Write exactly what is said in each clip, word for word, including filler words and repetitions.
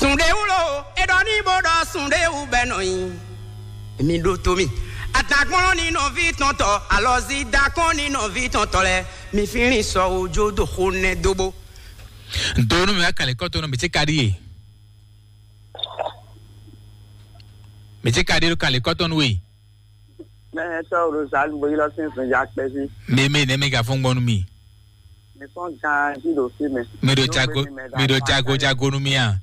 Sundewulo, e ɖɔ ní bó ɖɔ sundewú bɛ nɔ nyi. Mi ɖo to mi. Atakpɔn ní nɔví tɔn tɔ, alɔzi dakɔn ní nɔví tɔn tɔ lɛ. Mi fínlín sɔ ojo do xo nɛ dóbó. Donu mi wá kàlẹ́ kɔtɔn nɔ mi ti ka ɖi ye. Mi ti ka ɖi ɖo kàlẹ́ kɔtɔn nɔ ye. Mɛ tɔ Rosalu bo yi lɔ sin sun ja kpɛ si. Mi mi ne mi ka fún gbɔnu mi. Mi fɔn gan ji ɖo fi mɛ. Mi ɖo jago mi ɖo jago jago nu mi a.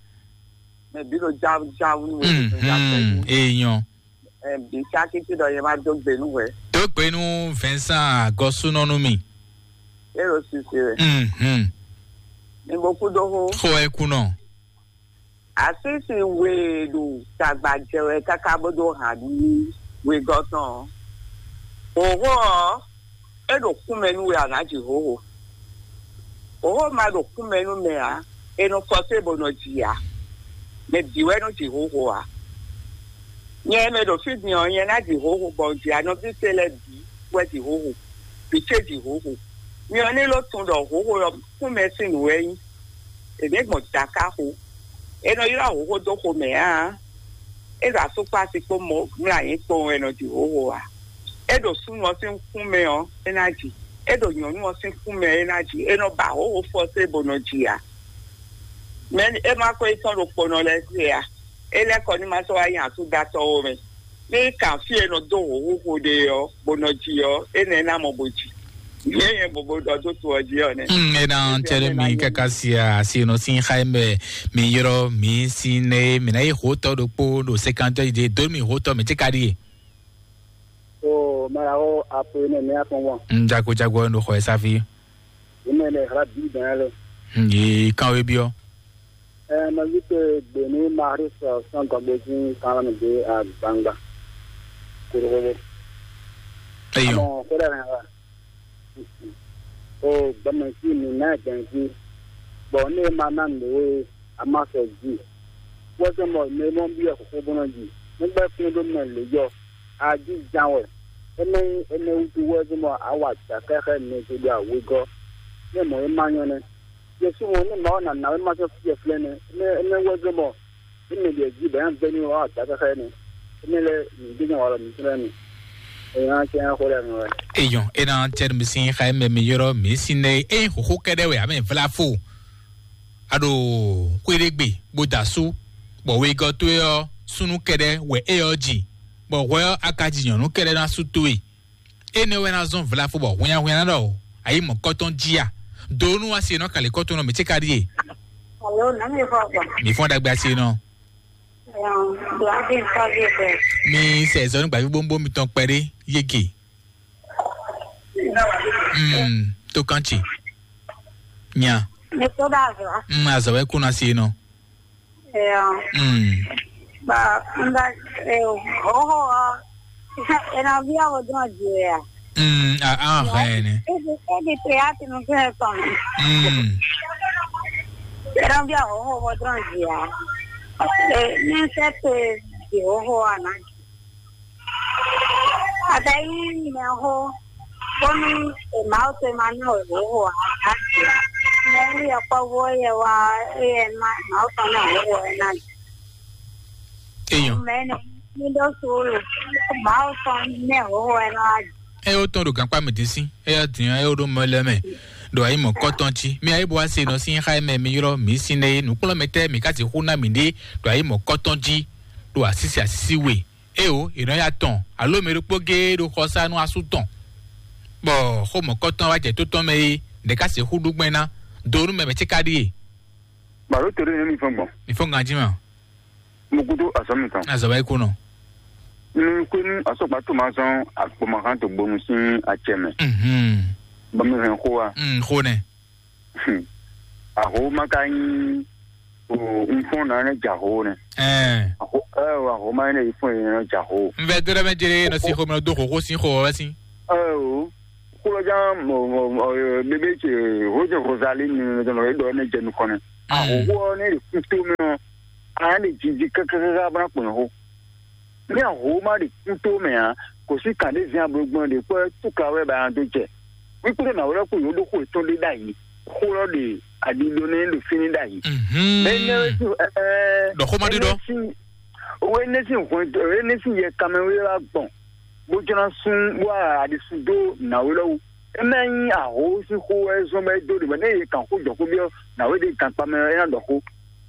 Mɛ bi ɖo ja ja wu nu mi sun ja kpɛ si. Eyɔn. Ɛ bi sa kiti ɖɔ yɛ ma do gbe nu wɛ. Dó gbe nú Vincent Agɔsúnɔ nú mi. E ɖo sisi wɛ. Mhm. Mi bo kú dó xó. Xó ɛ kú nɔ. Asísi we ɖo tagba jɛ wɛ káká bó dó hǎn nú wegɔ́ tɔn ɔ́. Hǒxo ɔ́, é ɖo kúmɛ nú we a nǎ ji hǒxo. Hǒxo ma ɖo kúmɛ nú mɛ ǎ, è nɔ fɔsé bó nɔ ji ǎ. Mɛ bǐ wɛ nɔ ji hǒxo ǎ. Nyɛ mɛ ɖo fí din ɔ́, nyɛ ná ji hǒxo bɔ un ji anɔví ce lɛ́ɛ bǐ wɛ ji hǒxo, bǐ ce ji hǒxo. Nyɛ ɔ́ ní ló tunwun ɖɔ hǒxo ɔ́ kúmɛ sín nǔ wɛ nyí. È nǐ gbɔn dǎká xo. È nɔ ylɔ́ hǒxo dó xomɛ ǎ. É ɖo asúkpási kpó mɔ mlɔ́ anyǐ kpowun wɛ è nɔ ji hǒxo ǎ. É ɖo súnnu ɔ́ sín kún mɛ ɔ́, é ná ji. É ɖo nyɔ̌nu ɔ́ sín kún mɛ é ná ji. É nɔ ba hǒxo fɔ́sé bó nɔ ji ǎ. Mɛ é má ko yi tɔn ɖo kponɔ lɛ́ɛ se ǎ. É lɛ́ kɔ ní ma sɔ́ wá nyi asúdatɔ́ ó mɛ. Ní kan fí e nɔ dó hǒxo ɖe ɔ́, bó nɔ ji ɔ́, énɛ́ ná mɔ bó ji. Yě nyɛ bobo ɖɔ dó to ɔ́ jí ɔ́ nɛ́. Mm, e na cɛɖe mi kaka sia asi nɔ sin xa mɛ mi yrɔ mi sin ne mi na yi hotɔ ɖokpo ɖo sekantɔ yi de do mi hotɔ mi ti ka ɖi ye. O mara o apo ne mi afɔn wọn. Mm, jago jago no xɔ esafi. Ime le hra bi dan le. Mm, yi kan we biɔ. Ɛ ma yi te gbe ni Maris sɔn gɔgbe jí kan mi de agbangba. Korogogo. Eyɔ. Amɔ ko ɖe hɛn wa. O gbɛmɛ jí mi na gbɛn jí. Bɔ ne ma na nǔ e a ma sɔ jí. Wɛsɛ mɔ ne mɔ bi ɛ xɔxɔ bɔnɔ jí. Ne gbɛ kún ɖo mɛ lě yɔ. A jí jan wɛ. Énɛ́ nyí énɛ́ wútu wɛ zɔ́n bɔ a wa jǎ xɛxɛ mɛ ce ɖo awegɔ́. Nú mɔ̌ e ma nyɔ́ nɛ́. Jesu mɔ nú Mawu ná ná wɛ ma sɔ́ fí flɛ́ nɛ́. Énɛ́ énɛ́ wɛ zɔ́n bɔ é mɛ ɖě jí bɛ̌ ná vɛ́ n'i wɛ a wa jǎ xɛxɛ nɛ́. Énɛ́ lɛ́ɛ nǔɖé nyɛ walɔ mǐtɔn lɛ́ɛ mi. Èyí ná cɛ xó lɛ́ɛ mi wɛ. Eyɔn, e na cɛ mi sin xa mɛ mi yɔrɔ mi sin ne e xoxo kɛɖɛ wɛ ame vla fo. A ɖo xwéɖégbe bó da sú, bɔ wegɔ́ towe ɔ́ súnnu kɛɖɛ́ wɛ é ɔ́ ji, bɔ hwɛ ɔ́ a ka ji nyɔ̌nu kɛɖɛ́ ná sú towe. Énɛ́ wɛ ná zɔ́n vlafo bɔ hwinnyahwinnya ná ɖɔ ayǐ mɔ̌kɔtɔn jí a? Do nú asi e nɔ kali kɔ́tɔn nɔ mǐ ce ka ɖíe. Alo, nǎ mi xɔ gbɔ. Mǐ fɔ́n ɖagbe asi e nɔ. Ɛɛ, do adi nfa vi bɛ. Mi sɛ zɔnu gbavi bóbó mitɔn kpɛɖé yége. Mm, tó kán tsi. Nya. Mi tó ɖo azɔ. Mm, azɔ wɛ kún asi e nɔ. Ɛɛ. Mm. Ba nda, ɛɛ, hoho ɔ. Ena via wo dɔn ji ya. Mm, a a hɛn ne. Ebi ebi te ya tinu fɛ tɔn. Mm. Ena via hoho wo dɔn ji ya. Ɛɛ, ni se te ji hoho ana. Ata yi mɛ ho. Bonu e ma o te ma na o hoho ana. Mɛ wi ya kpɔ wo ye wa ye ma ma o tɔn na hoho ena. Eyɔn. Mɛ ne mi ɖo suulu. Ma o tɔn ne hoho ena. Ɛ o tɔn ɖo gankpá mi dín sín, ɛ yɔ dín ɛ o ɖo mɔ lɛ mɛ. Ɖo ayi mɔ kɔtɔn jí. Mi ayi bo ase nɔ sín xa mɛ mi yrɔ mi sín ne nukplɔ́ mɛ tɛ mi ka sixú ná mi ɖe ɖo ayi mɔ kɔtɔn jí. Ɖo asísi asísi we. Eo, è nɔ ya tɔn, alo mɛ ɖokpó géé ɖo xɔsánú asú tɔn, bɔ xó mɔ̌kɔtɔn wá jɛ tó tɔn mɛ é, ɖě ká sixú ɖú gbɛn ná, do nú mɛ mɛ ce ka ɖíe. Balo to ɖé nú mi fɔn gbɔn. Mi fɔn ganjí ma. Mo kúdó azɔ̌ mi tɔn. Azɔ̌ wá yi kú nɔ. Mi kú nú asɔkpa tó ma zɔn akpɔmahán tó gbonu sín acɛ mɛ. Mhm. Bɔ mi hɛn xó wa. Mm, xó nɛ. Aho ma ka nyí o nfɔn na ne ja ho ne. Ɛɛ. Aho ɛ o aho ma ne ifɔn ne ja ho. N vɛ dɔrɔmɛ jere nɔ si xɔ mɛ do xoxo sin xɔ wɛ sin. Ɛ o kúlɔ jan mɔ mɔ mɔ bébé ce ho jɛ Rosalie ni ne dɔn e dɔ ne jɛ nukɔn ne. Aho ho ne de kuto mɛ ɔ a ne jiji kakakaka bana kpɔn ho. Ní àhó má ɖi kútó mɛ ǎ, kò sí kǎn ɖé zɛ́n ablɔgbɔn ɖě kpɔ́ túka wɛ ba nya dó jɛ. Wíkúɖé nǎ wlɛ́ kú yǒɖó xó yětɔn ɖé ɖ'ayǐ. Xó lɔ ɖe aɖiɖo nɛ́ ɖo fínɛ́ ɖ'ayǐ. Mhm. Mɛ énɛ́ wɛ sín ɛ ɛ Ɖɔ xó ma ɖi ɖɔ. Énɛ́ sín, owó énɛ́ sín hwɛndo, énɛ́ sín yɛ kanmɛ wé wá gbɔn, bó jlɔ́ sún bó wá aɖisí dó nǎwe lɔ́wọ́. É má nyí ahó sín xó wɛ zɔ́n bɔ é dó ɖě mɛ, nɛ́ yě kan xó jɔ xó byɔ́ nǎwe ɖé kan kpa mɛ ɔ́, é ná ɖɔ xó.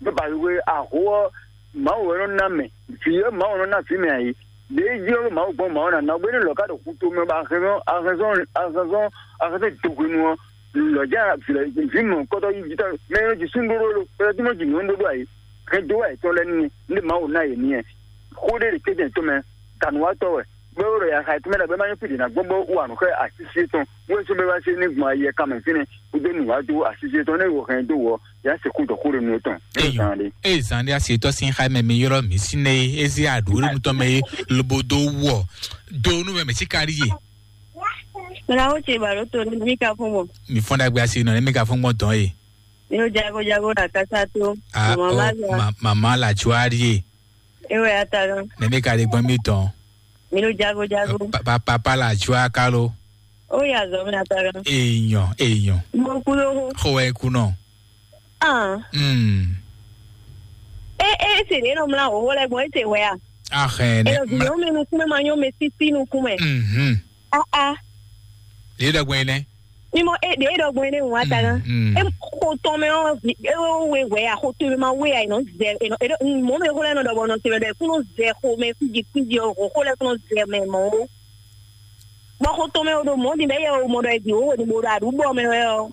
Bó ba wé ahó ɔ́, Mawu wɛ nɔ ná mɛ, vǐ ɔ́ Mawu nɔ ná vǐ mɛ ǎ é. Ɖě jí ɔ́ Mawu gbɔn Mawu ná ná bó ní lɔ̌ ká ɖo xu tomɛ bɔ ahɛnzɔn ahɛnzɔn ahɛnzɔn ahɛnzɔn dó hwenu ɔ́, lɔ̌ jɛ vǐ lɛ́ɛ vǐ mɔ̌hunkɔtɔn yí jǐta mɛ e nɔ ji súnɖóɖó lo, mɛ e nɔ ji nǔɖóɖó ǎ é. Hɛn dó wá yětɔn lɛ́ɛ n'i, ní Mawu ná yě n'i wɛ. Xó ɖé ɖe kéjɛ tɔn mɛ, danǔwatɔ́ wɛ, bó ɖo yaxa yětɔn mɛ ɖɔ bɔ é má nyɔ́ fí ɖě ná gbɔn bó wa nǔ xá asísí tɔn, bó é sɔ́ bɛ́ wá sí ní gbɔn ayɛ kanmɛ fínɛ́, bó dó nǔ wá dó asísí tɔn, ní e wo hɛn dó wɔ, yě á sixú ɖɔ xó ɖé nú étɔn. Eyɔn, eye zan ɖé asi tɔ́ sín xá mɛ mi ylɔ́ mǐ sín é, é zé aɖǔ ɖé nutɔ́ mɛ é, lobo dó wɔ dó nú mɛ mɛ sí kárí ye. Mla wo ce ba ɖo to ne mi ka fún bɔ. Mi fɔ́n ɖagbe asi nɔ ne mi ka fún gbɔn dɔn ye. Mi ɖo jago jago ɖo akasa to. Ah, mama oh, ma zɔ. Ma, mama la juari ye. Ewe ata gan. Ne mi ka ɖe gbɔn mi tɔn. Mi ɖo jago jago. Pa, pa, papa la jua kalo. O ya zɔ mi ata gan. Eyɔn, eyɔn. Mo ku ɖo ho. Xo wɛ ku nɔ. Ah. Hmm. E e se ɖe nɔ mla hoho lɛ gbɔn e se hwɛ a. Ahɛn. E nɛ. Ɖo vi nyɔnu mi nukun mɛ ma nyɔ mɛ sisi nukun mɛ. Mhm. Ah ah. Ɖe ɖɔ gbɔn yi nɛ. Mi mɔ e ɖe ɖɔ gbɔn yi nɛ ŋu ata gan. Mm, mm. E xo tɔn mɛ ɔ vi e wo we hwɛ a xo to mɛ ma we a e nɔ zɛ e nɔ e ɖo mɔ mɛ xo lɛ nɔ ɖɔ bɔ nɔ se mɛ ɖɔ e kún nɔ zɛ xo mɛ fiji fiji ɔ xo xo lɛ kún nɔ zɛ mɛ mɔ o. Bɔ xo tɔn mɛ o ɖo mɔ̌ din bɔ éyɛ́ o mɔ ɖɔ è bǐ wǒ wǒ ɖo aɖǔbɔ mɛ wɛ ɔ́,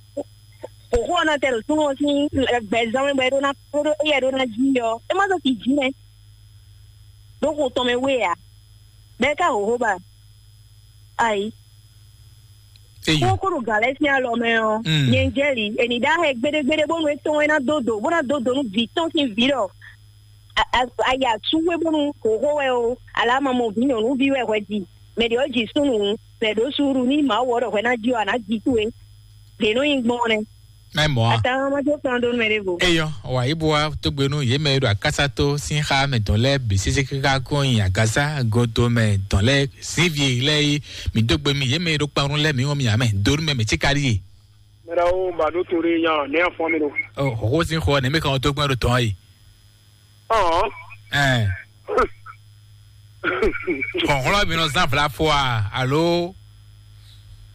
xǒxó ɔ́ ná tɛ ɖo súnnu ɔ́ sín gbɛzán mɛ bɔ é ɖó ná é ɖó éyɛ́ ɖó ná jí ɔ́, é má zɔ́ ti jǐ nɛ́. Ɖó xo tɔn mɛ wé ǎ, bɔ é ká xǒxó ba. Ayi. Eyi. Kó kó ɖo gǎn lɛ́ɛ sín alɔ mɛ ɔ́, Mm. nyɛ jɛ́li, è nǐ ɖó ahɛ gbéɖégbéɖé bónú é tɔn é ná dó dǒ, bó ná dó dǒ nú vǐ tɔn sín vǐ ɖɔ a- a- aya sú wé bónú xǒxó wɛ o, alá ma mɔ vǐ nyɔ̌nuví wɛ hwɛ ji. Mɛ ɖě ɔ́ ji súnnu, mɛ ɖǒ suúɖu ní Mawu ɔ́ ɖɔ hwɛ ná ji ɔ́, a nǎ ji towe. Ɖě nɔ nyi gbɔn nɛ́. Mɛ mɔ̌ a? Atan ma jó kplɔ́n dó nú mɛ ɖěvo. Eyɔ, wǎ yi bo wá tógbénú yě mɛ e ɖo akásátó sín xá mɛ dɔn lɛ́ɛ bǐ sésé káká kɔn nyi agǎsá godo mɛ dɔn lɛ́ɛ sín vi lɛ́ɛ yi. Mǐ dó gbe mì yě mɛ e ɖo kpanrún lɛ́ɛ mǐ wɔn mì ǎ mɛ dó nú mɛ mɛ cíkaɖí e. Mɛ ɖawo ba ɖó to ɖé nya nɛ afɔ mi ɖo. Ɔ, xɔxɔ sín xɔ nɛ mɛ kan tó gbɛn ɖo tɔn yi. Ɔn. Ɛn. Xɔxlɔ mi nɔ zan vla fɔ a alo?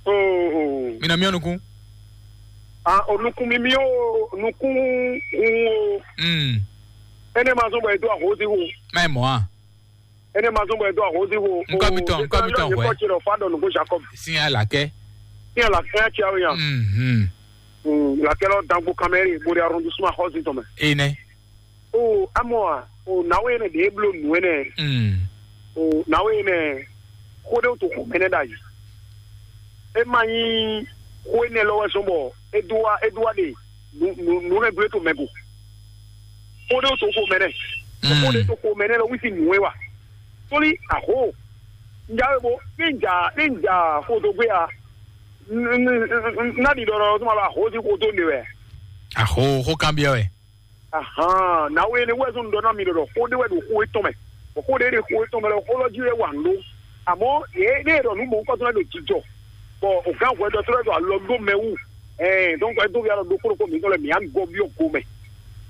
Oo. Mi nɔ miɔ nukun. A o nukun mi mi o nukun o. Mm. Ene ma zɔn bɔ edo ahosi wo. Mɛ mɔ a. Ene ma zɔn bɔ edo ahosi wo. Nkɔ mi tɔn, nkɔ mi tɔn hwɛ. Kɔ tsi lɔ fa dɔ nugo Jacob. Sin alakɛ. Sin alakɛ ya tsi awo ya. Mhm. Mm, lakɛ lɔ dangbo kamɛri bori arrondissement hosi tɔmɛ. Ene. O amɔ a, o nawe ene de eblo nu ene. Mm. O nawe ene, xo de o to xo mɛnɛ da yi. E ma nyi xo ene lɔ wɛ sɔn bɔ e do wa e do wa de nu nu nu ne gble to mɛ go. Xo de o to xo mɛnɛ. Mm. Xo de to xo mɛnɛ lɔ wisi nu e wa. Toli aho. Njawe bo ni nja ni nja xo do gbe a. N- n- n- n- na di dɔdɔ tuma ba ho si xo do ne wɛ. Aho xo kan biɔ wɛ. Ahan, nawe ne wɛ zɔn dɔ na mi dɔdɔ xo de wɛ do xo etɔn mɛ. Bɔ xo de de xo etɔn mɛ lɔ xo lɔ ji wɛ wa ndo. Àmọ́ yé ne yɛ dɔ nu mɔ nkɔ tɔn do jijɔ. Bɔ o gan hwɛ dɔ tɔn do alɔ do mɛ wu. Ɛɛ, donc ɛ do bi alɔ do kpolo ko mi tɔn lɛ mi an gɔ bi o go mɛ.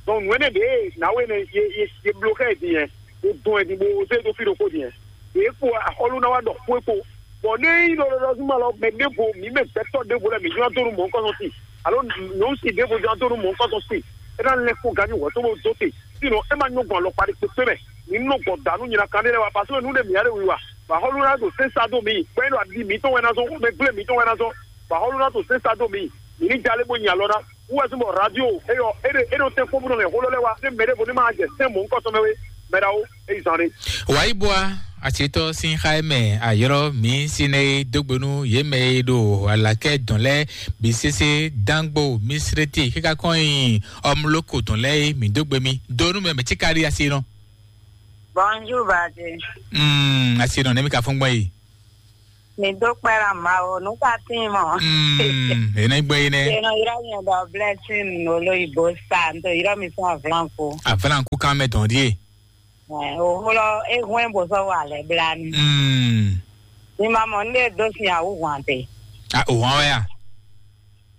Donc nu ene de nawe ne ye ye ye blo kɛ di yɛ. O dɔn ɛ di bo o se do fi do ko di yɛ. Ye ko ahɔlu na wa dɔ ko e ko. Bɔn ne yi lɔlɔlɔ zuma lɔ mɛ ɖevo mi mɛ gbɛtɔ ɖevo lɛ mi jɔ donu mɔ nkɔ sɔn ti. Alo nyɔnu si ɖevo jɔ donu mɔ nkɔ sɔn ti. E na lɛ ko ganyi wɔ to bo do te. Sinɔ e ma nyɔ gbɔn alɔkpa ɖe kpekpe mɛ. Mi nɔ gbɔn danu nyina kan ɖe lɛ wa parce que nu ɖe mi ya ɖe wi wa. Ba xɔlu na do sesa do mi. Kpɛ ɖo adi mi tɔn wɛ na zɔn, mɛ gble mi tɔn wɛ na zɔn. Ba xɔlu na do sesa do mi. Mi ni jale bo nyi alɔ na. Wɛ zɔn bɔ radio eyɔ e ɖe e ɖo te kpɔbɔ nɔ mɛ xɔlɔ lɛ wa. Ne mɛ ɖevo ne ma jɛ sɛn mɔ nkɔ sɔn mɛ we. Mɛ ɖawo eyi zan ɖe. Wǎyíbúa, àṣetɔ sín xá ɛ mɛ àyɔrɔ mǐ sinɛ dógbénú yě mɛ e ɖo alakɛ dɔn lɛ bí sese dangbo misreti kíká kɔn yi ɔmloko dɔn lɛ mǐ dógbé mi dónú mɛ mɛ tíka ɖi asi nɔ. Bonjour, Bade. Mm, asi nɔ nɛmi ka fún gbɔn yi. Mi dó kpɛ́ ɖa Mawu, nú ka tín mɔ. Mm, ene gbɛ yi nɛ. Eno yrɔ mi dɔ blessing olo ibo sa, n to yrɔ mi fún avlanku. Avlanku kan mɛ dɔn die. Ɛ, o xlɔ e hwɛn bo sɔ wa lɛ bla ni. Mm. Mi ma mɔ nde do sin awu hwan te. A o hwan wɛ a.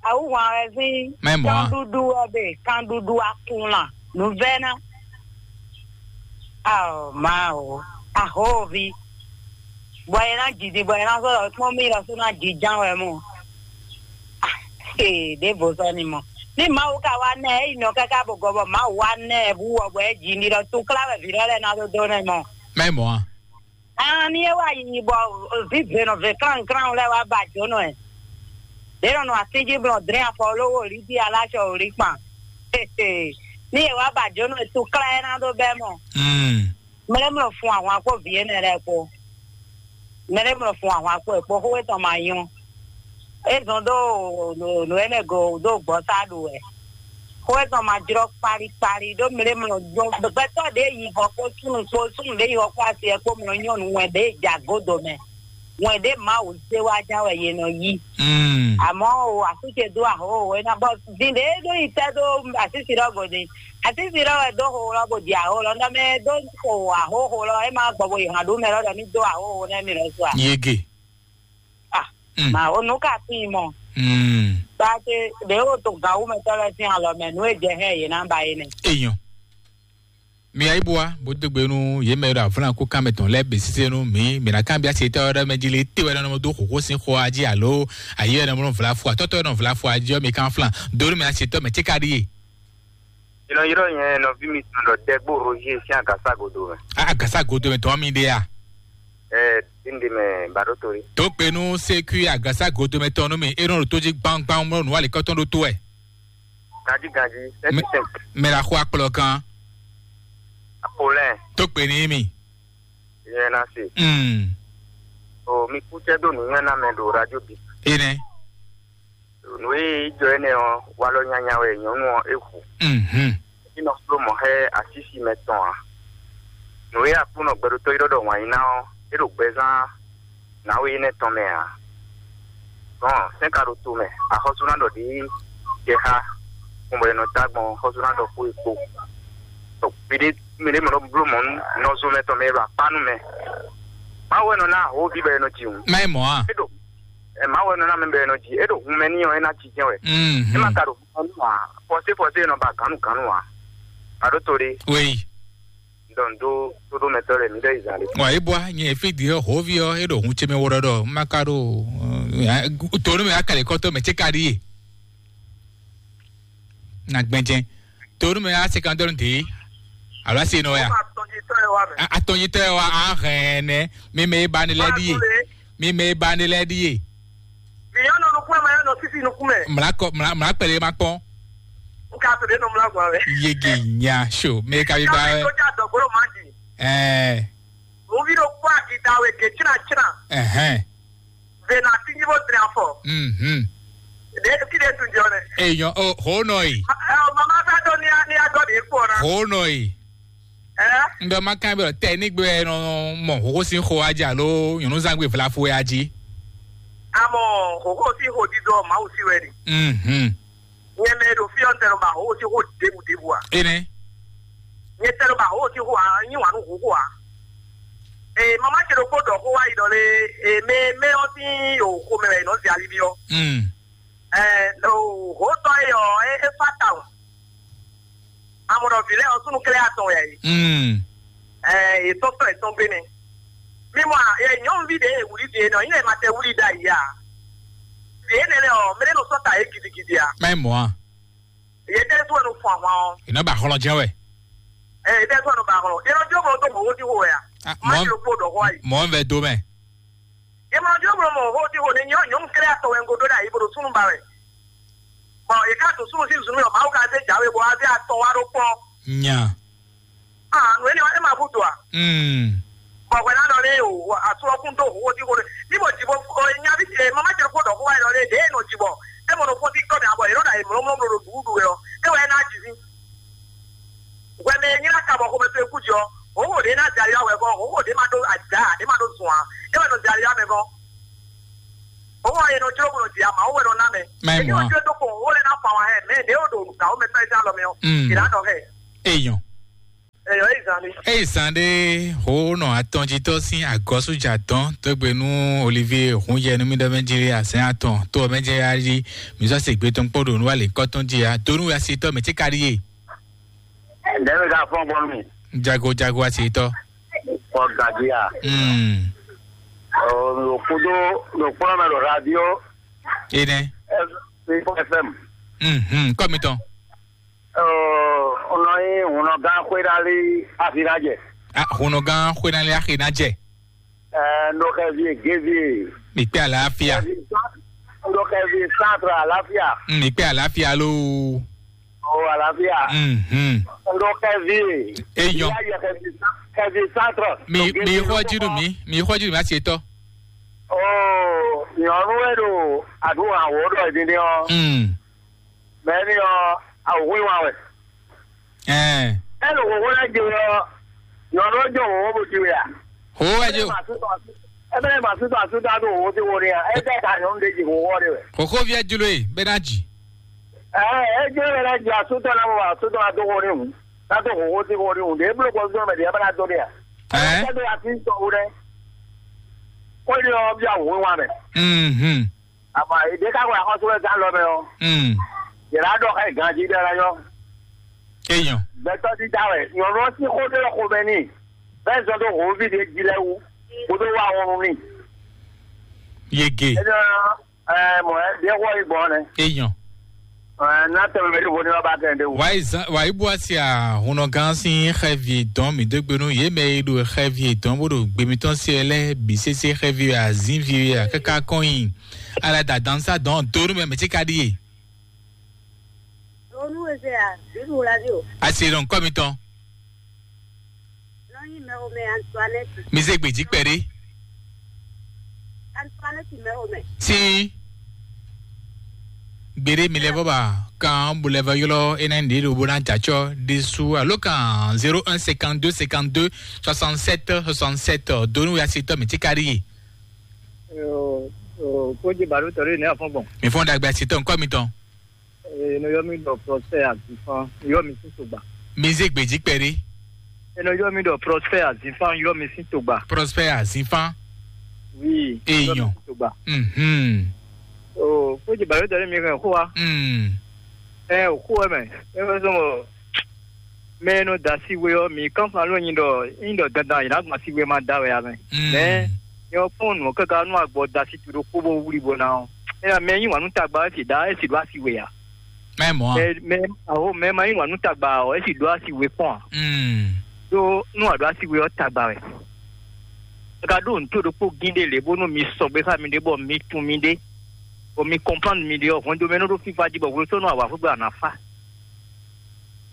Awuhwan wɛ sín Mɛ mɔ̌ a? Kanɖuɖu wɛ ɖe, kanɖuɖu akunlan nǔvɛ́ná. Ao Mawu, ahóvi, bɔ é ná jiji, bɔ é ná sɔ́ ɖɔ kpɔ́n mì lɔ sú ná jiján wɛ mɔ. Ee, ɖěvo sɔ́ ni mɔ. Ní Mawu ka wá nɛ ɛ, é yi nɔ káká bɔ gɔbɔ Mawu wá nɛ ɛ bú wɔ bɔ é ji ní lɔ túklá wɛ vǐ lɔ lɛ́ɛ ná dó dó nɛ mɔ. Mɛ mɔ̌ a? Aan, ní é wá yi bɔ vǐ vě nɔ vě klánklán lɛ́ɛ wá ba jǒnɔ ɛ. Ɖě nɔ nɔ atín jí blɔn dlɛ́n afɔ lówó lǐ jí aláṣɔ wǒ lí kpan. Ní è wá ba jǒnɔ ɛ túklá ɛ ná dó bɛ́ mɔ. Mm. Mlɛ́mlɔ fun ahwan kpó vǐ énɛ́ lɛ́ɛ kpó. Mlɛ́mlɔ fun ahwan kpó ɛ kpó xó étɔn ma nyɔ́. É zɔn dó nǔ énɛ́ go dó gbɔ̌ sá ɖu wɛ. Xó étɔn ma jlɔ́ kpali kpali ɖó mlɛ́mlɔ gbɛtɔ́ ɖě yi hɔ kpó súnnu kpó súnnu ɖě yi hɔ kpó asi ɛ kpó mlɔ nyɔ́nu wɛn ɖě ja gǒdo mɛ. Wɛn ɖě Mawu zé wá ján wɛ yě nɔ yí. Mm. Àmọ́ o, àsú ce dó ahǒ o, é ná bɔ din ɖě ɖó yi tɛ́ dó asísi lɔ gɔdin. Asísi lɔ wɛ dó xo lɔ bó di ahǒ lɔ, nɔ mɛ dó xo ahǒ xo lɔ, é má gbɔ bó yi hàn ɖó mɛ lɔ ɖɔ ní dó ahǒ xo nɛ mi lɔ su a. Yege. Ah, Mm. Ma o nǔ ka tín mɔ. Mm. Ba ce ɖě o to gǎwúmɛtɔ́ lɛ́ɛ sín alɔ mɛ, nǔ e jɛ hɛn yě ná ba é nɛ. Èèyàn. Mi ayíbúwa bó dó gbe nú yě mɛ e ɖo avlán kú kán mɛ tɔn lɛ́ɛ bǐ sésé nú mǐ. Mǐ ná kanbyá se tɔ́ ɖɔ mɛ jí lé, té wɛ nɔ dó xǒxó sín xó a jí alo ayé wɛ nɔ vla fo atɔ́tɔ́ wɛ nɔ vla fo a jí ɔ́, mi kan flan dó nú mɛ asetɔ́ mɛ céka ɖíe. Ylɔ́ylɔ́ nyɛ nɔví mitɔn ɖɔ Dɛgbó Roger sín agǎsa godo mɛ. A agǎsa godo mɛ tɔn mi ɖe a? Ɛ díndín mɛ baɖótoli. Tó gbe nú sékú agǎsa godo mɛ tɔn nú mi, é nɔ ɖo tó jí gbangban mlɔ nǔ alikɔtɔn ɖó tó wɛ. Ganjí ganjí, Mɛ- sɛntísɛn. Mɛ la xo akplɔ kan. Apolɛn. Tó gbe ní mi. Yẹn na se. Mm. O mi kú cɛ dó nǔnywɛ́ ná mɛ ɖo radio bi. Enɛ. Nǔ e jɔ énɛ́ ɔ́, walɔ nyanya wɛ nyɔ̌nu ɔ́ é hu. Mhm. É nɔ fló mɔ̌ xá asísi mɛ tɔn ǎ. Nǔ e Aklúnɔ gbɛɖotɔ́ ylɔ́ ɖɔ wǎn yí ná ɔ́, é ɖo gbɛzán nǎwe énɛ́ tɔn mɛ ǎ. Gbɔn sɛ́n ka ɖo to mɛ, axɔ́sú ná ɖɔ ɖě jɛ xá gbɔn bɔ è nɔ dó agbɔn xɔ́sú ná ɖɔ xó e kpó. Tɔ gbeɖé mɛ ɖé mɛ nɔ bló mɔ̌ nú nɔzo mɛ tɔn mɛ e ɖo akpá nú mɛ. Mawu wɛ nɔ ná ahoví bɔ è nɔ ji hǔn. Má nyí mɔ̌ a? É ɖo ɛ Mawu wɛ nɔ ná mɛ bɔ è nɔ ji. É ɖo hun mɛ n'i ɔ́, é ná jijɛ wɛ. Mhm. É má ka ɖo hun mɛ n'i ǎ. Fɔsé fɔsé è nɔ ba gǎnnu gǎnnu ǎ. Aɖó to ɖé. Oui. Dɔn dó tóɖómɛtɔ́ lɛ́ɛ mi ɖɔ yi zan ɖé. Wa é bwa nyɛ fí di ɔ́ hǒví ɔ́ é ɖo hun ce mɛ wó ɖɔɖɔ má ka ɖo tonu mɛ akali kɔtɔ mɛ ce ka ɖi ye. Na gbɛnjɛ tonu mɛ a sekandɔnu de alo asi nɔ ya. Atɔnyitɔ yɛ wa mɛ. Atɔnyitɔ yɛ wa ahɛn nɛ mi mɛ e ba ne lɛ ɖi ye. Mi mɛ e ba ne lɛ ɖi ye. Miyɔnɔ nukun mɛ yɔnɔ sisi nukun mɛ. Mla kɔ mla mla kpɛlɛ ma kpɔn. N ka to ɖe nɔ mla gba wɛ. Yege nya so mɛ ka bi ba wɛ. Ka mi to ja dɔgbolo ma di. Ɛɛ. Mo vi ɖo kpɔ akita we ke tsina tsina. Ɛhɛn. Ve na ti nyi bo dre afɔ. Mhm. De ki de tun jɔ ne. Eyɔn o ho nɔ yi. Ɛ o mama sa do ni a ni a dɔ de kpɔ na. Ho nɔ yi. Ɛ. N ɖɔ ma kan bɛ tɛ ní gbé nɔ mɔ hoho sín xo adzi alo nyɔnuzangbe vlafo ya dzi. Amɔ hoho sín ho dídɔ Mawu sí wɛ ni. Mhm. Nyɛ mɛ ɖo fí ɔ́, n tɛ nɔ ba hoho sín ho ɖěbǔ ɖěbǔ a? Ene. Nyɛ tɛ nɔ ba hoho sín ho a, nyi wǎn nú hoho a? Ee, mama ce ɖokpó ɖɔ xó wá yi ɖɔ lé, ee, mɛ mɛ ɔ́ sín o xomɛ wɛ è nɔ zɛ ali ví ɔ́. Mm. Ɛɛ, o hotɔ e ɔ, e e fa tawun. Amɔ ɖɔ vǐ lɛ́ɛ ɔ́, súnnu klɛ́ atɔn wɛ yě. Mm. Ɛɛ, yě tɔ́n tɔn yě tɔn gbé nɛ́. Mi mɔ a, yɛ nyɔ̌nuví ɖě e wlí vǐ énɛ́ ɔ́, nyí lɛ́ ma tɛ wlí ɖ'ayǐ a? Vǐ énɛ́ lɛ́ɛ ɔ́, mɛ ɖé nɔ sɔ́ ta yě gidigidi a? Má nyí mɔ̌ a? Yě tɛ́ sún wɛ nɔ fun ahwan ɔ́. È nɔ ba hlɔn jɛ́n wɛ. Ɛɛ, yě tɛ́ sún wɛ nɔ ba hlɔn. Yě nɔ jó mɔ dó mɔ̌ wó sí xo wɛ a? Ah, má mɔ̌- ti ɖokpó ɖɔ xó ayi. Mɔ̌ vɛ dó mɛ. Yě mɔ jó mɔ mɔ xó tí xo ní nyɔ̌ nyɔ̌nu kɛ́ɖɛ́ atɔn wɛ un ko ɖó ɖ'ayǐ bó ɖo súnnu ba wɛ. Bɔ yě ká ɖo súnnu sín zun mì ɔ́, Mawu ka zé jǎwe bɔ wá zé atɔn wá ɖó kpɔ́n. Nya. Ah, nǔ énɛ́ ɔ́, é ma hútu a? Mm. Bɔ hwɛ ná ɖɔ lé o, asu ɔ́ kún dó xó tí xo ní. Ní mo jǐ bɔ nya ví ce, mama ce kó ɖɔ xó wá ɖɔ lé, ɖě e nɔ jǐ bɔ é mɔ nɔ fɔ́n sí kɔ́ mɛ abɔ yě nɔ ɖo ayǐ mlɔ́mlɔ́ ɖo ɖuɖu wɛ ɔ́, é wɛ é ná jǐ ví. Hwɛ mɛ e nylá ka bɔ xomɛ towe kú jɔ, hǒxo ɖě ná zɛ ali wɛ kɔ, hǒxo ɖě ma ɖó ajǎ, ɖě ma ɖó zun ǎ. É wɛ nɔ zɛ ali wɛ mɛ kɔ. Hǒxo ɔ́, è nɔ jló bó nɔ ji ama, ó wɛ nɔ ná mɛ. Má nyí mɔ̌ a? Èmi ò jó tó kpɔn, ó lè ná fa wà hɛ, mɛ ɖě ó ɖo nǔgbà ó mɛ fɛ́ zán lɔ mɛ ɔ́. Mm. È nǎ nɔ hɛ. Èèyàn. Èèyàn yìí zan. Eye zan ɖé hǒnɔ atɔnjitɔ́ sín agɔ̌sújǎ tɔn dó gbe nú Olivier Hunjɛ nú mì ɖɔ mɛ jí asɛn atɔn tó ɔ́ mɛ jɛ yá jí mǐ sɔ́ se gbé tɔn kpɔ́ ɖo nǔ alě kɔ́ tɔn jí a dó nú asitɔ́ mɛ tí ka ɖíe. Ɖɛ̌ mi ka fɔ́n gbɔn nú mi? Jago jago asitɔ́. Kɔ gají a? Mm. Ɖo kúdó ɖo kplɔ́ mɛ ɖo radio Enɛ. F M. Mhm, kɔ́ mitɔn. Ɔ, un nɔ nyí hunɔgán xwéɖálí Afinajɛ. Ah, hunɔgán xwénálé axi ná jɛ. Ɛ, un ɖo xɛvi Gévi. Mi kpé àlàáfíà. Un ɖo xɛvi Centre Alafia. Mm, mi kpé àlàáfíà lóo. O Alafia. Mhm. Un ɖo xɛvi. Eyɔn. Ìyá yɛ xɛvi, xɛvi Centre. Mi mi xɔ jí nù mí, mi xɔ jí nù mí asi etɔ. O, nyɔnu e ɖo aɖu awɔ ɖɔ din din ɔ. Mm. Mɛ ni ɔ, awɔ wa wɛ. Ɛɛ. Ɛ ɖo xoxo lɛ je ɔ, nyɔnu ɔ jɔ xoxo bo ji wɛ a? Ho wɛ jo. Ɛ bɛ ma su tɔ asu ta do xoxo ti wo ni a? Ɛ bɛ ka nyɔnu de ji xoxo de wɛ. Xoxo viɛ jlo e bɛ na ji. Ɛ ɛ jlo bɛ na ji asu tɔ na mo asu tɔ na do wo ni hu. Na do xoxo ti wo ni hu. De blo ko zɔn mɛ de bɛ na do ni a? Ɛɛ. Ɛ do asu tɔ wo dɛ. Ko ni ɔ bi a wo wa mɛ. Mhm. Àmọ́ èdè ká wà kọ́sọ́ ẹ̀ sá lọ mẹ́ ọ́. Mm. Yàrá dọ̀ ká ìgànjí dára yọ. Èèyàn. Bẹ́tọ́ dídá rẹ̀, ìyọ̀nù ọtí kó dé kó bẹ́ẹ̀ ni. Bẹ́ẹ̀ sọ tó hó fìdí jí lẹ́ wú. Kó tó wá wọn ní. Yege. Ẹ jọ ẹ mọ̀ ẹ́ bí ẹ wọ́ ìgbọ́n ni. Èèyàn. Ẹ ná tẹ̀wé bẹ́ẹ̀ tó ní wọ́n bá tẹ̀ ẹ́ dé wò. Wàyí zan wàyí bó a se àhùnà gan sí xẹ́vi dán mi dé gbénú yé mẹ́ e ɖo xẹ́vi dán bó ɖo gbémitɔn se ɛ lɛ bí sese xẹ́vi azínvi a kaka kɔn yi. Ala da dan sa dɔn donu mɛ mɛ tí ka ɖi ye. Donu eze a, donu la di o. Asi ɖɔn kɔ mitɔn. Nɔ yi mɛ o mɛ Antoinette. Mi ze gbèjì kpɛɖé. Antoinette mɛ o mɛ. Sí. Gbèrè mi lɛ bɔ ba kan bo lɛ vɔ ylɔ ene ɖe ɖo bo na jatsɔ ɖe su alo kan zéro un cinquante-deux cinquante-deux soixante-sept soixante-sept donu ya si tɔ mi tí ka ɖi ye. Kódzi bàɖó tɔ̀rí ní afɔ́ngbọ̀n. Mi fɔn dagbe asitɔ nkɔ mi tɔn. Eno yɔ mi ɖɔ Prosper Azifan yɔ mi sín sogba. Mi zé gbèjì kpɛɖé. Eno yɔ mi ɖɔ Prosper Azifan yɔ mi sín sogba. Prosper Azifan. Oui. Èèyàn. Yɔ mi sín sogba. Mhm. O kódzi bàɖó tɔ̀rí mi hɛn xó wa. Mm. Ɛ o xó wɛ mɛ. Ɛ wɛ sɔmɔ. Mɛ e nɔ da asi we ɔ́, mǐ kánfan ló nyi ɖɔ nyi ɖɔ dandan yě ná gbɔn asi we ma da wɛ ǎ mɛ. Mɛ nyɛ ɔ́ kpɔ́n nǔ ɔ́ káká nú agbɔ da asi to ɖokpó bó wlí bó ná ɔ́. Énɛ́ mɛ e yí wǎn nú tagba ɔ́, é sì ɖó é sì ɖó asi we ǎ. Mɛ mɔ̌ a? Mɛ mɛ aho mɛ ma yí wǎn nú tagba ɔ́, é sì ɖó asi we kpɔ́n ǎ. Mm. Ɖó nú a ɖó asi we ɔ́, tagba wɛ. É ka ɖó nǔ to ɖokpó gín ɖé lě bónú mi sɔgbe xá miɖée bɔ mi tunwun miɖée, bɔ mi kɔnplánu miɖée ɔ́, hwɛndo mɛ nɔ ɖó fífá jí bɔ hwesɔ́nú awǎ xwé gbe a nǎ fá.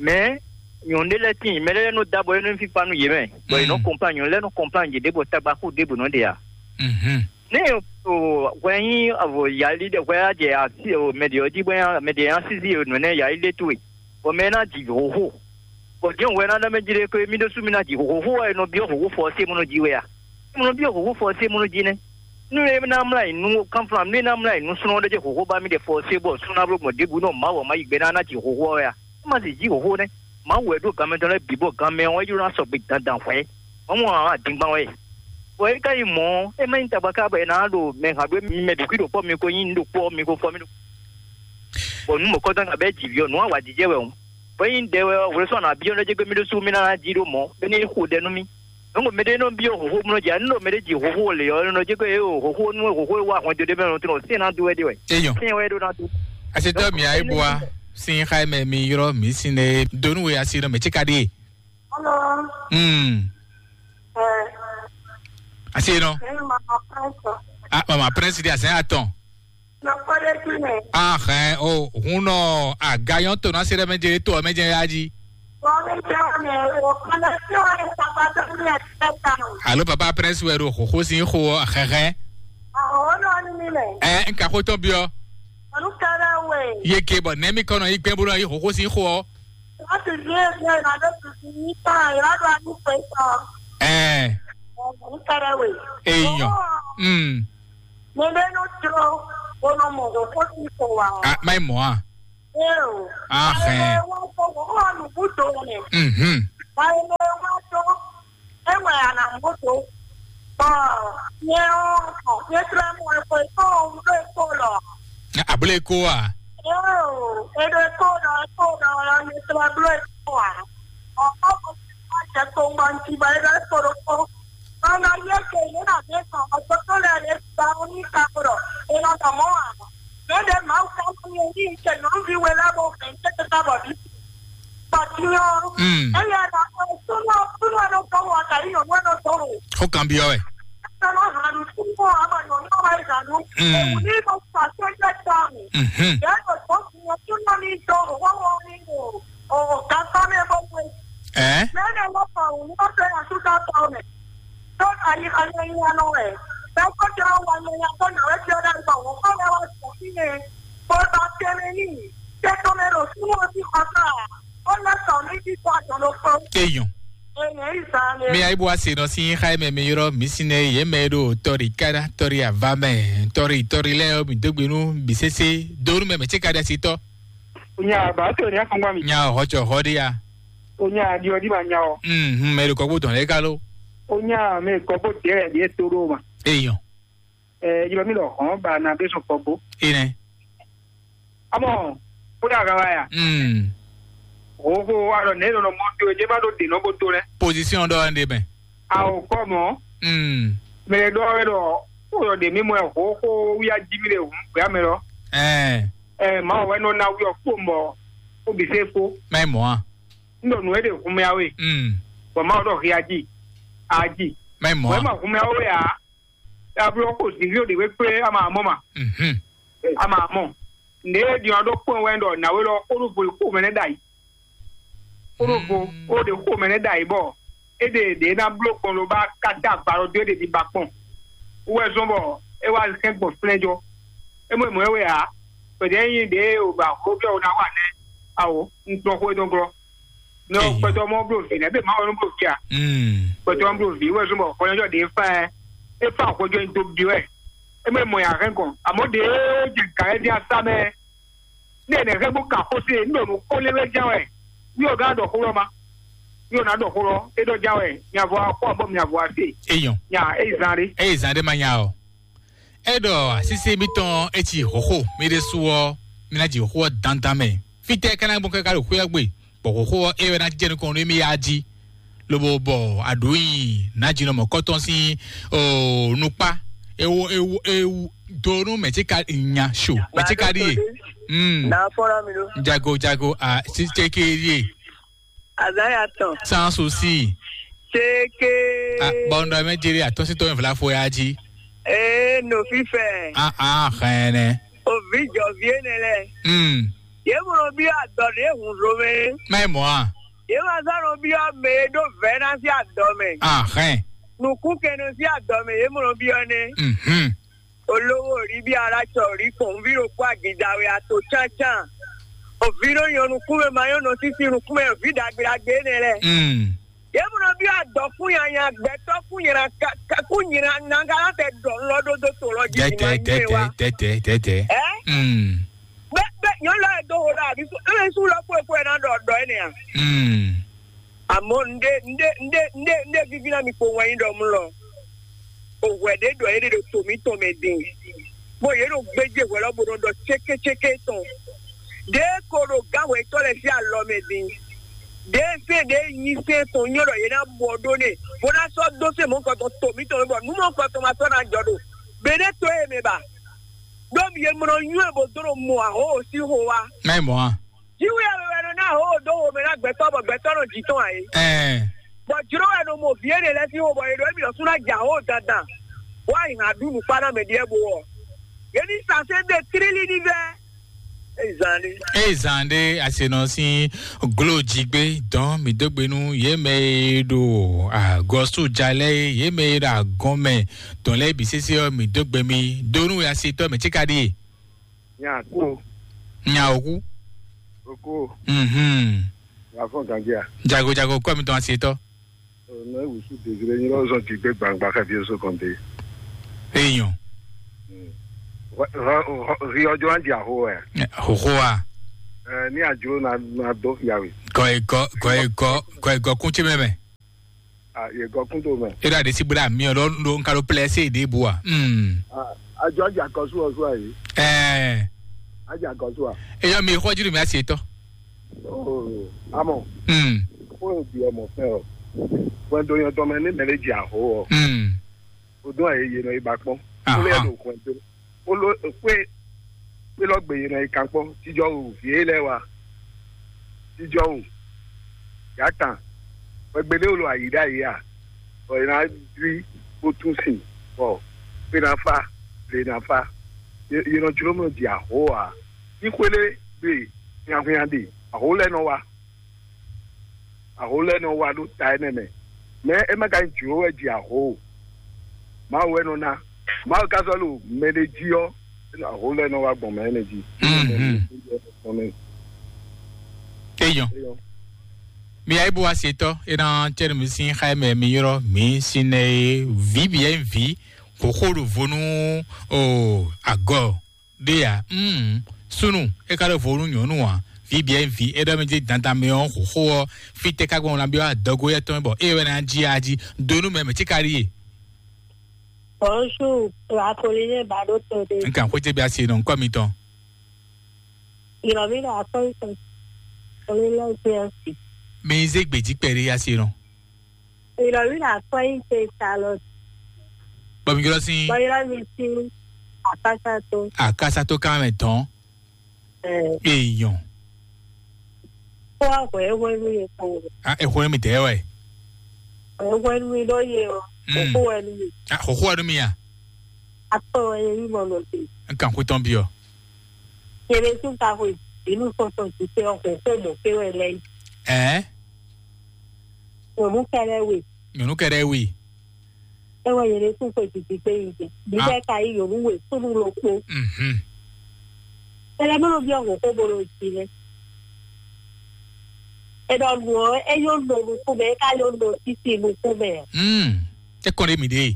Mɛ nyɔ̌nu ɖé lɛ́ɛ tíin, mɛ lɛ́ɛ nɔ da bɔ é nɔ nyí fífá nú yě mɛ, bɔ yě nɔ kɔnplán nyɔ̌nu lɛ́ɛ nɔ kɔnplán yěɖée bɔ tagbaxó ɖěbǔ nɔ ɖe ǎ. Mhm. Nɛ o hwɛ nyí avɔ yali ɖe hwɛ á jɛ asi o mɛ ɖě ɔ́ jí bɔ mɛ ɖě nya sísí o nǔ énɛ́ yali ɖé towe, bɔ mɛ ná ji hǒxo. Bɔ jɛ́n hwɛ ná ɖɔ mɛ jí ɖé ko mí ɖésú mí ná ji hǒxo wɛ è nɔ byɔ́ hǒxo fɔ ɔ́ sé mɔ nɔ ji wɛ a? Mɔ nɔ byɔ́ hǒxo fɔ ɔ́ sé mɔ nɔ ji nɛ́. Nú é ná mlá yi nú kánflán, nú é ná mlá yi nú súnɔ ɖé jɛ hǒxo ba mì ɖe fɔ sé bɔ súnɔ bló gbɔn ɖěbǔ nɔ Mawu ɔ́ má yi gbɛ ná ná ji hǒxo ɔ́ wɛ a? É má sì jí hǒxo nɛ́. Mawu wɛ ɖó ganmɛ tɔn lɛ́ɛ bǐ bɔ ganmɛ ɔ́ é jló ná sɔgbe dandan hwɛ̌. Mawu ɔ́ ǎ dingban wɛ. Bɔ é ka nyí mɔ̌ ɔ́, é má nyí tagba ká bɔ è nǎ ɖo mɛ hǎn ɖó mi mɛ ɖo kwí ɖo kpɔ́ mi ko nyí nǔ ɖo kpɔ́ mi ko fɔ mì ɖo. Bɔ nǔ mɔ̌kɔtɔn ná bɛ́ ji vǐ ɔ́, nǔ awǎjijɛ wɛ hǔn. Bɔ é nyí ɖɛ wɛ ɔ́, hwlɛ́sɔ́ nǎ byɔ́ nɔ jɛ gbé mì ɖésú mì ná ná jí ɖó mɔ̌, bɔ é ní xo ɖɛ nú mì. Nǔ mɛɖé nɔ byɔ́ hǒxo mlɔ́ jí, anu ɖo mɛɖé ji hǒxo le ɔ́, nɔ jɛ́ kɔ ée o hǒxo nú hǒxo e wá hwɛndo ɖé mɛ lɔn tɔn sɛn ná dó wɛ ɖe wɛ. Eyɔn. Sɛn wɛ ɖó ná dó. Asetɔ mi ayi bua sin xa mɛ mi yrɔ mi sin ne donu we asi nɔ mɛ tsika ɖie. Hello. Hmm. Eh. Asi nɔ. Eh, mama Prince. Ah, mama Prince di asɛn atɔn. Nɔkpɔɖé tún nɛ. Ahɛn o hun nɔ agayɔn to na se ɖe mɛ jɛ to mɛ jɛ ya ji. Bɔmi jɛ ne o kɔnɔ tí o ye papa tó ní ẹ tẹ ta o. Alo papa Prince wɛ ɖo xoxo sin xo ɔ xɛxɛ. Awo nɔ ni mi mɛ. Ɛ n ka xo tɔn biɔ. Olu kɛrɛ we. Ye ke bɔ nɛ mi kɔnɔ yi gbɛn bolo yi xoxo sin xo ɔ. Wọ́n ti gbé ẹgbẹ́ ìrànlọ́ tuntun ní tán ìrànlọ́ àdúgbò ìtàn. Ɛ Olu kɛrɛ we. Eyàn. Mm. Mo bɛ nɔ trɔ bɔnɔ mɔ ɖo kó ti kɔ wa. Ah, mai mɔ a. Ee o. Ah, hɛn. Wọ́n kọ́ wọ́n wà lùkú tó rẹ̀. Mhm. Báyìí ló wá tó kana moto. Bɔ nyɛ ɔ́, nyɛ tlɛ mɔ eko eko ɖo eko lɔ. Abúlé kó wa. Yoo, eɖo eko lɔ, eko lɔ, nyɛ tlɛ bló eko wa. Ɔkɔ ko jɛ kpowun ŋuti bɔ é ɖo eko ɖokpó. Ɔnɔ yɛ ke yě nɔ ɖe sɔn ɔgbɔtɔ lɛ ɖe gba ní kakpo ɖɔ è nɔ dɔ mɔ ǎ. Mɛ ɖe Mawu ka nɔ yɛ ní cɛ nyɔ̌nuví we lɛ́ɛ bó hɛn tɛ́ tɛ́ bɔ bí. Bɔ din ɔ́, Mm. Eya ɖɔ súnɔ súnɔ ɖo dɔn wɔ ka yí nyɔ̌nu ɖo dɔn o. Xó kan byɔ́ wɛ. Sɔnɔ hanu súnɔ ama nyɔ̌nu wa yi hanu. Mm. Òun ní bɔ fà sɛjɛ tɔnu. Mhm. Yɛ ɖo dɔn súnɔ súnɔ ní dɔn o wɔ wɔ ní o o gafá mɛ bɔ wɛ. Ɛ? Mɛ ɖe wɔ fà òun ní bɔ fẹ́ yà súnɔ tɔn mɛ. Tó ka yí ka nyɛ nyɛ nɔ wɛ. Bɛ kó jọ wà nyɛ nyɛ kó nà wɛ jọ dá gbà wọ́n kó lɛ wá sọ sí yẹn. Kó bá tẹ́lẹ̀ ní. Tẹ́tọ́ mɛ ɖo súnmọ́ sí kọ́tà. Ó lọ sọ ní kíkọ́ àjọ ló fún. Eyɔn. Èèyàn ìsàlẹ̀. Mi ayi bó a se nɔ sí xá mɛ mi yrɔ mi si nɛ yé mɛ ɖo tɔri kára tɔri ava mɛ tɔri tɔri lɛ mi dógbe nú bi sese donu mɛ mɛ tse ka ɖe si tɔ. Onya ba to ni afɔngba mi. Nya hɔ tsɔ hɔ ɖe ya. Onya di ɔdi ma nya o. Mhm, mɛ ɖo kɔkpo dɔn lɛ ka lo. Onya mɛ kɔkpo dɛ ɖe to ɖo ma. Eyɔn. Eh, yɔ mi lɔ hɔn ba na be sɔn kɔkpo. Ine. Amɔ, kó dà ga wa ya. Mm. Wo ko wa lɔ ne lɔ mɔ to je ma do de nɔ bo to lɛ. Position dɔ ande mɛ. Awo kɔ mɔ. Mm. Mɛ dɔ wɛ dɔ ko dɔ de mi mɔ ho ko wi a ji mi le hu gbɛ mɛ lɔ. Eh. Eh, ma wɛ nɔ na wi ɔ kpo mɔ ko bi se ko. Mɛ mɔ a. N dɔ nu e de hu mɛ awe. Mm. Bɔ ma dɔ hi a ji. A ji. Mɛ mɔ Wɛ a. Ma hu mɛ awe a. Ablo ko zivi o de we kple ama mɔ ma. Mhm. Ama mɔ. Ne ɖiɔ ɖo kpɔn wɛ ɖɔ nawe lɔ kóɖó vo kó mɛ nɛ ɖayi. Kóɖó vo kó ɖe kó mɛ nɛ ɖayi bɔ e ɖe ɖe ná bló kpɔn ló ba kata agba lɔ dó e ɖe ɖi ba kpɔn. Wɛ zɔn bɔ e wá hɛn gbɔn flɛ́njɔ. E mɔ mɔ e wɛ a. Pɛdɛ nyi ɖe o ba xó bia o ná wa nɛ. Awo, n tɔn xó e dɔn glɔ. Nɔ Eyi. Kpɛtɔ mɔ blo vi nɛ be ma wɛ nɔ blo vi a. Mm. Kpɛtɔ mɔ blo vi wɛ zɔn bɔ xɔlɛjɔ de fa ɛ. E fa xɔjɔ in do bi wɛ. E mɛ mɔ ya hɛn kɔn. Amɔ de jɛ gã yɛ di asa mɛ. Ne ne hɛn bo ka xɔse n ɖo nu kɔ lé wɛ jɛ wɛ. Mi o gã dɔ xó lɔ ma. Mi o na dɔ xó lɔ e dɔ jɛ wɛ. Mi avɔ akɔ bɔ mi avɔ ase. Eyɔn. Nya e zan ɖe. Eye zan ɖe ma nya o. E ɖɔ asísí mitɔn e ci xɔxo mi ɖe su ɔ, mi ná ji xɔxo ɔ dandan mɛ. Fitɛ kana gbɔn kaka ɖo xwé ɔ́ gbe, bɔ xɔxo ɔ́ e wɛ ná jɛ nukɔn nú mi ya jí. Lobo bɔ aɖǔ nyi nǎjínɔ mɔ̌kɔtɔn sín o nukpá ewu ewu ewu do nú mɛ̌ tí ka nya so mɛ̌ tí ka ɖíe. Mm. Na fɔlɔ mi ɖo. Jago jago a siteke ɖíe. Azaya tɔn. Sans aussi. Teke. A bɔndɔ mɛ jere atɔsitɔ mi vla fo ya jí. Ee, no fifɛ. A a xɛnɛ. Ovi jɔvi ene lɛ. Mm. Ye mlɔ bi adɔ ɖe hun ɖo mɛ. Mɛ mɔ a. Ye ma zan nɔ bi ɔ mɛ e ɖo vɛ na si adɔ mɛ. A xɛn. Nukun kɛnɛ si adɔ mɛ ye mlɔ bi ɔ nɛ. Mhm. Olówó rí bí alátsɔ rí kpɔn ví ɖo kó agida wɛ ato tsántsán. Òví ɖó nyɔ nukúnmɛ ma nyɔ nɔ sísí nukúnmɛ òví ɖagbe ɖagbe énɛ́ lɛ. Mm. Yě mɔ nɔ bí adɔkún nyanya gbɛtɔ́ kún nyina kún nyina nanga tɛ ɖɔ lɔ ɖó dó to lɔ jí. Tɛtɛ ma nyɛ tɛtɛ wa. Tɛtɛ tɛtɛ. Ɛ? Mm. Bɛ bɛ nyɔ lɔ yɛ do ho ɖa àbí ebe sú lɔ kó ekó yɛ ná ɖɔ ɖɔ énɛ́ a? Mm. Amɔ̌ un ɖe un ɖe un ɖe un ɖe un ɖe víví ná mi kpo wɛn nyi ɖɔ mlɔ. O hwɛ ɖě ɖɔ yě ɖe ɖo to mǐtɔn mɛ din, bɔ yě nɔ gbéjé hwɛ lɔ bó nɔ ɖɔ cékécéké tɔn. Ɖě ko ɖo gǎn hwɛtɔ́ lɛ́ɛ sín alɔ mɛ din. Ɖě sɛ́n ɖě nyi sɛ́n tɔn nyɔ́ ɖɔ yě ná bɔ ɖó n'i, bó ná sɔ́ dó sɛ́n mɔ̌hunkɔtɔn to mǐtɔn mɛ, bɔ nǔ mɔ̌hunkɔtɔn ma sɔ́ ná jɔ ɖo gbeɖé to e mɛ ba. Ɖó mi e mlɔ nywɛ́ bó dó ɖo mɔ ahǒ sín xo wá. Mɛ mɔ a. Jiwú ya wɛ nɔ ná hó dó wo mɛ ná gbɛtɔ́ bɔ gbɛtɔ́ nɔ jǐ tɔn ǎ é. Ɛɛ. Bɔ jló wɛ nɔ mɔ vǐ énɛ́ lɛ́ɛ sín xó bɔ è ɖɔ émí ɖɔ sú ná jɛ ahó dandan. Wá yi hǎn ɖu nǔkpá ná mɛ ɖíe bó ɔ. Yě ní sasé ɖe tlílí ní vɛ́. Ée zan ɖé. Eye zan ɖé asenɔ sín glo jigbe dɔn mi dó gbe nú yě mɛ e ɖo agɔ̌sú jalɛ yě mɛ e ɖo agɔn mɛ dɔn lɛ́ɛ bǐ sésé ɔ́ mi dó gbe mi dó nú asetɔ́ mɛ cíka ɖíe. Nya kú. Nya òkú. Òkú. Mhm. Wà fún gànjẹ́ à. Jago jago kọ́ mi tán ase tọ́. Ọ̀nà ìwòsù dèjìlẹ̀ yín lọ́wọ́ sọ ti gbé gbangba káfíń sọ kàn dé. Èèyàn. Rí ọjọ́ á di àhó ẹ̀. Hòhó a. Ẹ ní àjò na na dó fìyàwó. Kọ ẹ̀gọ́ kọ ẹ̀gọ́ kọ ẹ̀gọ́ kún tí mẹ́mẹ́. Ah, yɛ gɔkun to mɛ. E ɖo aɖe si bla mi ɔ ɖo ɖo nka ɖo plɛ se ɖe bu a. Hmm. Ah, ajɔ ajakɔsu ɔ su ayi. Ɛɛ. Ajakɔsu a. Eyɔ mi xɔ jiri mi asi etɔ. Oh, amɔ. Hmm. Ko e bi ɔmɔ fɛ ɔ. Wɛndo yɔn tɔmɛ ne mɛ le dzi aho ɔ. Hmm. O dun ayi yɛ nɔ yi ba kpɔn. Aha. Ko le do wɛndo. Kpolo kpé kpé lɔ gbe yě nɔ yi kan kpɔ́n. Jijɔ wu vǐ e lɛ́ɛ wa. Jijɔ wu yǎ tan. Wɛgbédé wlo ayǐ ɖ'ayǐ a? Bɔ yě ná dwí bó tún sin, bɔ kpé ná fá, lě ná fá. Yě yě nɔ jló mɔ ji aho ǎ. Ní xwélé gbe hwinhwan ɖe, aho lɛ́ɛ nɔ wá. Aho lɛ́ɛ nɔ wá ɖó ta énɛ́ mɛ. Mɛ é má ka nyí jlǒ wɛ ji aho o. Mawu wɛ nɔ ná. Mawu ka sɔ́ ɖo mɛ ɖé jí ɔ́, aho lɛ́ɛ nɔ wá gbɔn mɛ énɛ́ jí. Mhm. Eyɔn. Eyɔn. Mi ayi bo wa se tɔ, e na cɛ mi sin xa mɛ mi yɔrɔ mi sin nɛ e vi bi yɛ vi xoxo ɖo vo nú o agɔ ɖe ya. Mm, sunu e ka ɖo vo nú nyɔnu a, vi bi yɛ vi e ɖɔ mi di dandan mi ɔ xoxo ɔ, fi tɛ ka gbɔn na bi wa dɔgo yɛ tɔn bɔ e wɛ na ji a ji do nú mɛ mɛ ti ka ɖi ye. Bonjour, Apolline Badoto de. Nkan xwete bi asi nɔ nkɔ mi tɔn. Ìrọ̀mí là kọ́ ìtàn. Olólùfẹ́ ọ̀sìn. Mi zé gbèjì pẹ̀lú asi nɔ. Ìrọ̀mí là kọ́ ìtàn Charlotte. Bọ̀mí jọlọ sí. Bọ̀yọ̀rọ̀ mi sí Àkásátó. Àkásátó ká mẹ́ tán. Ẹ̀. Èèyàn. Kó wá hwẹ́ hwẹ́ nú yẹn kpɔn. A, ẹ hwẹ́ mi tẹ́ wẹ̀. Hwẹ́ hwẹ́ nú mi ló yẹ o. Mm. Kókó wẹ́ nú mi. A, kókó wẹ́ nú mi à? Akpọ̀ wẹ́ yẹ yí mọ̀ lọ sí. N kàn kú tán bí ọ. Yẹlẹ tún ka hwẹ́ inú sọ̀tọ̀ ti tẹ ọkọ̀ kó mọ̀ pé wẹ́ lẹ́yìn. Ẹ́. Ònú kẹlẹ́ wè. Nyɔnu kɛɖɛ wi. Ewɔ yele tún xwe titi kpe yi dzi. Bíbẹ́ ka yí yòówù wè súnú ló kpó. Mhm. Tẹlẹ bó ló bí ọ̀hún kó bó ló jí lé. Ẹ̀dọ̀ nù ọ́, ẹ yóò nọ nukún mẹ́, ká yóò nọ títí nukún mẹ́. Mm. Ẹ kàn lé mi dé.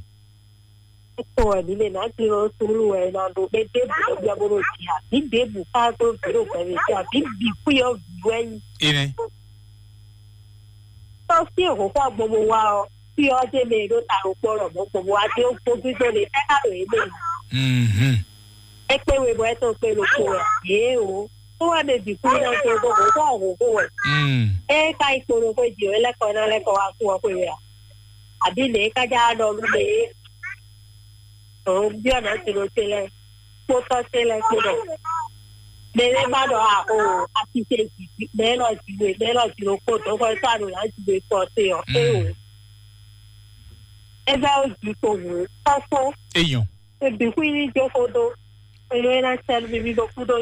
Ẹ kàn wẹ̀ mí lè má ti lọ súnú ẹ̀ náà ló pé débù ló bí ọmọ ló jí àbí débù ká tó bèrè òkè mi sí àbí bì kú yọ vì wẹ́ yìí. Ẹ nẹ. Tọ́ sí òkú kó agbomọ wá ọ, kí ọ dé mɛ ɖó ta ɖo kpɔ́ lɔ mɔ̌ gbogbo wá dé ó gbígbó lè fẹ́ ká lò é mɛ. Mhm. É kpé we bɔ é tó kpé ló kpó wɛ. Yě o. Tó wá mɛ bǐ kú náà tó gbogbo kó ọ̀hún kó wɛ. Mm. É ká ikpolo kó jì wɛ lẹ́kọ̀ọ́ náà lẹ́kọ̀ọ́ wá kú ọ kó wɛ a? Àbí lè é ká já lɔ lú lè é? Òun bí ọ̀nà ti ló télẹ̀ kpótɔ́ télẹ̀ kpódɔ. Mɛ lɛ́ɛ má ɖɔ a o, a ti ṣe jìjì, mɛ lɔ jìwe, mɛ lɔ jìwe kpódɔ kɔ sá ɖo là jìwe kɔ te ɔ. É o. Mm. É bɛ ó jì kpo wǔ kɔ́fó. Eyɔn. Ebǐ kú yí jó xó dó. Eye é ná sɛ́ nú mi mì ɖo kú dó.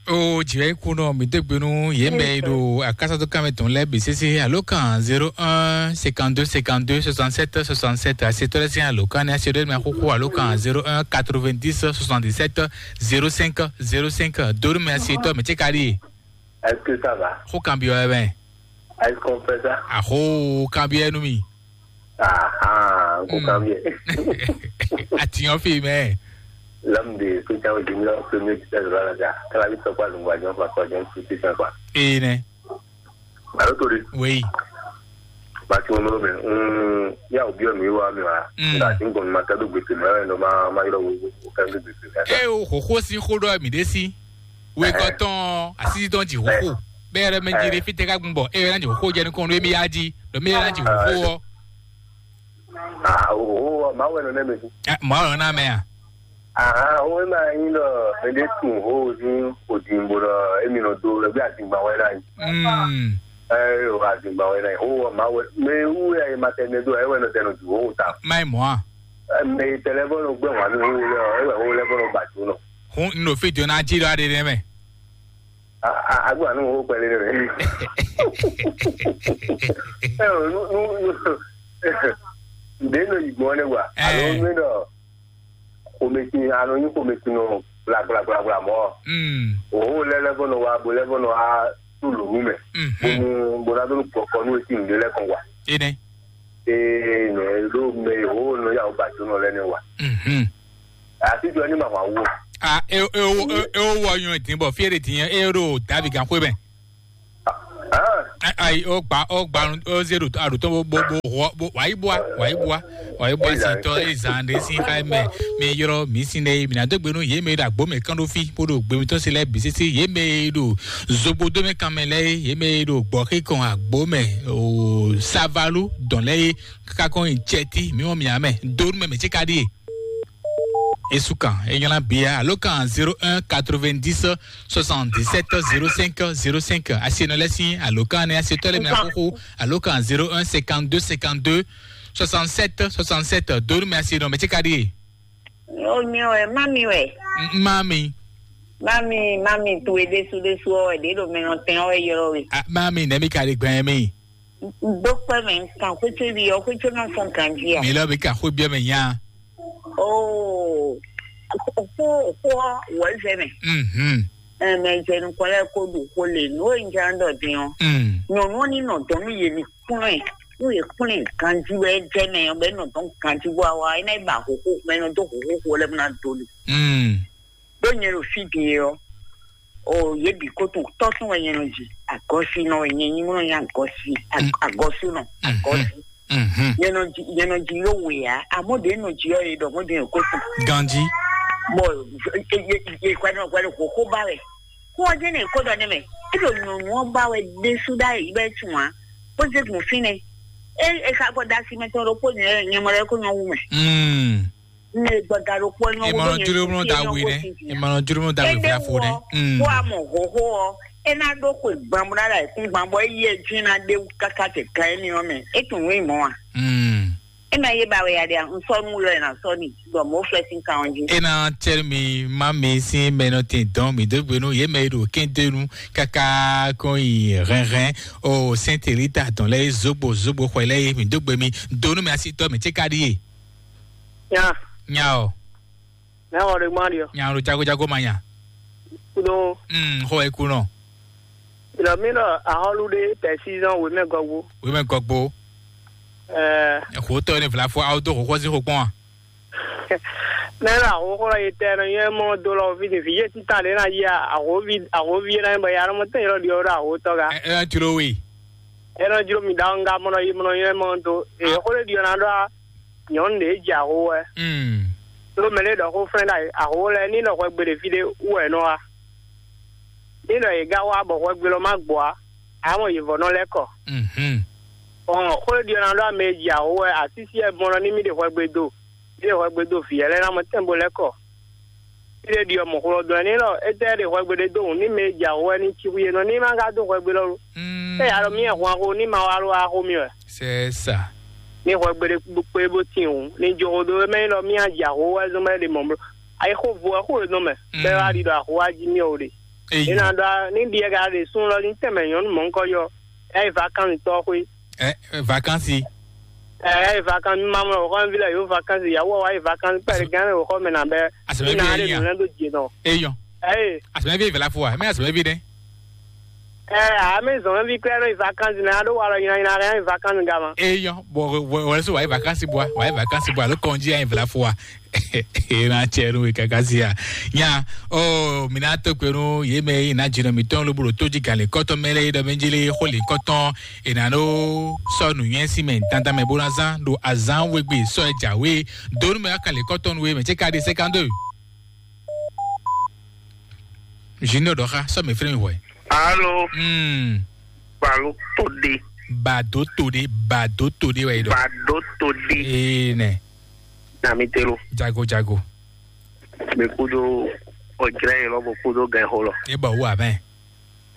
O jìwɛ kú nɔ mi dé gbénu yé mɛ yi ɖo akásátó kámɛ tɔn lɛ bǐ sésé alo kan zéro un cinquante-deux cinquante-deux soixante-sept soixante-sept asetɔ lɛ sín alo kan ní asetɔ lɛ mɛ xóxó alo kan zéro un quatre-vingt-dix soixante-dix-sept zéro cinq zéro cinq donu mɛ asetɔ mɛ tse ka ɖi. Est-ce que ça va? Xó kan bi wɛ mɛ. Est-ce qu'on fait ça? Axó kan bi wɛ nú mi. Ah, ah, ko kan bi. Atiyan fi mɛ. L'homme de soutien au junior premier titulaire de la Liga. Kalabi sɔkpa zungba jɔn fa kɔ jɔn su titulaire quoi. Ee nɛ. Alo tori. Oui. Ba ti mo mɛ. Mm, ya obi o mi wa mi wa. Mm. Nga ti ngon ma kadu gbete mɛ no ma ma yɔrɔ wo wo kadu gbete mɛ. E o xoxo si xo ɖɔ mi ɖe si. Wegɔtɔn asisi tɔn ji xoxo. Bɛ yɛrɛ mɛ ji ɖe fi tɛ ka gbun bɔ e yɛrɛ na ji xoxo jɛ nukɔn ɖo emi ya ji. Ɖo mi yɛrɛ na ji xoxo wɔ. Ah, oh, oh, ma wɛ nɔ nɛ mɛ. Ah, ma wɛ nɔ na mɛ a? Ah, o ma yin dɔ mɛ de tun ho ni o din bo dɔ emi nɔ do lɛ bi azingba wɛ na yi. Mm. Eh, o azingba wɛ na yi. O ma wɛ me wu ya ma tɛ ne do e wɛ nɔ tɛ nɔ ju ho ta. Mai mo a? Eh, me tɛ lɛ bɔ nɔ gbɛ wa ni ho lɛ, e wɛ ho lɛ bɔ nɔ ba ju nɔ. Ho no fi do na ji do ade ne mɛ. A a a gba nu ho pɛlɛ ne mɛ. Eh, nu nu nu. Nde nɔ yi gbɔn ne wa. Eh. Alo mi dɔ xomɛsin anɔ nyi xomɛsin nɔ gblagblagbla mɔ. Mm. Oho lɛ lɛ bɔ nɔ wa bo lɛ bɔ nɔ wa tu lonu mɛ. Mhm. Bonu bona donu kɔkɔ nu esi nde lɛ kɔn wa. Ene. Ee nɛ ɖo mɛ ho nɔ ya o ba jo nɔ lɛ ne wa. Mhm. Asi jɔ ni ma wa wo. A e e o e o wɔ nyɔ din bɔ fiere din e ɖo davi gan xwe mɛ. Ah. Ayi, ó gba, ó gba, ó zé ɖo aɖu tɔn bó bó bó hɔ bó wǎ yi bua wǎ yi bua wǎ yi bua si tɔ eye zan ɖe sin xa mɛ. Mi ylɔ mi sin ɖe mi na dó gbe nú yě mɛ ɖo agbo mɛ kán ɖó fí bó ɖo gbe mitɔn si lɛ bǐ sisi yě mɛ ɖo zogbo dó mɛ kan mɛ lɛ yě mɛ ɖo gbɔ xí kɔn agbo mɛ o savalu dɔn lɛ yé kaka kɔn nyi cɛti mi wɔn mi amɛ dó nú mɛ mɛ tsi ka ɖi. Esu kan e nylá bia alo kan zéro un quatre-vingt-dix soixante-dix-sept zéro cinq zéro cinq. Asi nɔ lɛ sin alo kan ne asi tɔ lɛ mi akoko alo kan zéro un cinquante-deux cinquante-deux soixante-sept soixante-sept. Donu mi asi nɔ mɛ tsi ka ɖi. O mi wɛ, ma mi wɛ. Ma mi. Ma mi, ma mi tu e ɖesu ɖesu ɔ wɛ ɖe ɖo mɛ nɔ tɛn ɔ wɛ yɔ we. Ma mi nɛ mi ka ɖi gbɛn mi. Dokpɛ mɛ kan xwétso bi ɔ xwétso nɔ fɔn kan jí a. Mi lɔ mi ka xwé biɔ mɛ nya. Oo, xó xó wɔ zɛ mɛ. Mhm. Ɛmɛ zɛ nukɔn lɛ ko ɖu xó le nú e nja dɔ din ɔ. Mm. Nyɔnu ɔ ni nɔ dɔn nú yě ní kplɔn ɛ nú yě kplɔn ɛ ganji wɛ jɛ mɛ ɔ bɛ nɔ dɔn ganji bɔ awa ɛ náà ba xóxó mɛ nɔ dó xóxó xó lɛ bó ná do li. Mm. Ɖó nyɛ ɖo fí din ɔ, o yě bǐ ko tɔn tɔ́ tɔn wɛ nyɛ nɔ ji agɔ́sínɔ wɛ nyɛ nyí mɔ nyɛ agɔ́sí agɔ́súnɔ agɔ́sí. Nyɛ nɔ ji nyɛ nɔ ji yó wè á amɔ́ ɖě nɔ ji ɔ yě ɖɔ mɔ́ ɖě nɔ ko tɔn. Ganji. Bɔ yě kwɛ nɔ kwɛ nɔ kókó ba wɛ kó ɔ́ jẹ́ nɛ kó ɖɔ nɛ mɛ é ɖo nyɔ̌nu ɔ́ ba wɛ ɖésú ɖ'ayǐ bɛ tún ǎ bó zé gun fínɛ́ é é xa gbɔ da asi mɛ tɔn ɖokpó nyɛ nyɛ mɔ ɖɔ é kó nyɔ wú mɛ. Mm. Ne gbɔda ɖokpó nyɔ wú Emɔnɔ bó nyɛ jló mɔ da wí nɛ. Emɔnɔ jló mɔ da wí fla fo nɛ. Kó a mɔ hoho ɔ é ná ɖó xwe gbambo ná ɖa ìkún gbambo é yí ɛ dín ná ɖé wú káká tɛ gan émi ɔ́ mɛ é tún wí mɔ a. Mm. É ma yé ba wɛ ya ɖe a un sɔ nú yɔ ɛ na sɔ ni bɔ mɔ fɛ sín kan ɔ́ jí. E na tsɛr mi ma mi sin mɛ nɔ tin dɔn mi dó gbenu yé mɛ ɖo kéntenu kaka kɔn yi hɛnhɛn o sɛnteli ta dɔn lɛ zogbo zogbo xɔ lɛ mi dó gbe mi donu mi asi tɔ mi tse ka ɖi ye. Nya. Nya o. Nya o de gbɔn adiɔ. Nya o jago jago ma nya. Kudo. Mm, xɔ e kunɔ. Ilɔ mi lɔ ahɔlu de pɛsizɔn wemɛ gɔgbo. Wemɛ gɔgbo. Ɛɛ. Xotɔ ne vlafo awo do xɔxɔ si xɔ kpɔn. Mɛ lɔ ahɔxɔ lɔ yi tɛ nɔ yɛ mɔ do lɔ fi ni vi ye tita le na yi ahɔvi ahɔvi yɛ na bɔ ya mɔ tɛ yɔrɔ di ɔrɔ ahɔtɔ ga. Ɛ ɛ jlo we. Ɛ nɔ jlo mi da nga mɔ nɔ yi mɔ nɔ yɛ mɔ do. Ee xɔ le di ɔna dɔ a. Nyɔnu ɖě jɛ aho wɛ. Ɖó mɛ ɖé ɖɔ xó flɛ́n ɖo aho lɛ́ɛ ní nɔ hwɛgbe ɖě fí ɖé wú wɛ nɔ wá. Ní nɔ yě gán wá bɔ hwɛgbe lɔ má gbɔ á, ǎ mɔ yě vɔ́ nɔ lɛ́ kɔ. Ɔn xó ɖiɔ ná ɖó ame e ji aho wɛ asísí wɛ mɔ nɔ ní mì ɖe hwɛgbe do, mì ɖe hwɛgbe do vǐ yɛ lɛ́ɛ ná mɔ tɛ́nbo lɛ́ kɔ. Fí ɖé ɖi ɔ́, mɔ̌ xlɔ́ dɔn ɛ n'i ɖɔ étɛ́ ɖe hwɛgbe ɖé dó wǔ n'i mɛ e jɛ awǒ wɛ ní cí xwí é nɔ ní ma ka dó hwɛgbe lɔ lo. Ée a ɖɔ mì hwan xó ní ma wá ló wá xó mì wɛ. C'est ça. Ní hwɛgbe ɖé kpé bó tín wǔ ní jó xó dó é mɛ nyí ɖɔ mì a jɛ awǒ wɛ zɔn bɔ é ɖe mɔ̌ bló. Ayi xó vo wɛ xó e nɔ mɛ bɛ́ wá ɖi ɖɔ axó wá jí mì ɔ́ ɖe. Eyi. É ná ɖɔ ní ɖi ɛ ka ɖe sún lɔ ní tɛnmɛ nyɔ̌nu mɔ̌hunkɔ́ yɔ ɛ yi vakansi tɔ́ xwé. Ɛ vakansi. Ɛ ɛ vakansi mi ma mlɔ xɔ mi vi lɛ yo vakansi ya wɔ wa yi vakansi pɛrɛ gan lɛ xɔ mɛ na bɛ. Asɛmɛ vi yɛ yan. Lɛ do je nɔ. Eyɔn. Ɛɛ. Asɛmɛ vi vɛla fo wa mɛ asɛmɛ vi dɛ. Ɛ ame zɔn mi vi klɛ nɔ yi vakansi na do wa lɔ yina yina yina yi vakansi gama. Eyɔn bɔ wɔ wɔ so wa yi vakansi bɔ wa yi vakansi bɔ alo kɔnji ya yi vɛla fo wa. Ena tsɛ nu kaka sia nya o mina to kpe nu ye mɛ yi na dzinɔ mitɔn lobolo to dzi gan le kɔtɔ mɛ lɛ yi dɔ mɛ dzi le xo le kɔtɔ ena no sɔ nu nyɛ si mɛ dandan mɛ bo na zan do azan wegbe sɔ e dza we donu mɛ aka le kɔtɔ nu we mɛ tse ka di cinquante-deux. Junior dɔ xa sɔ mɛ firi mi wɛ. Alo. Hmm. Balo to de. Bado to de bado to de wɛ yi dɔ. Bado to de. Ee nɛ. Na mi te lo. Jago jago. Mi kudo ɔjlɛ yi lɔ bo kudo gɛ xo lɔ. E bɔ wu abɛ.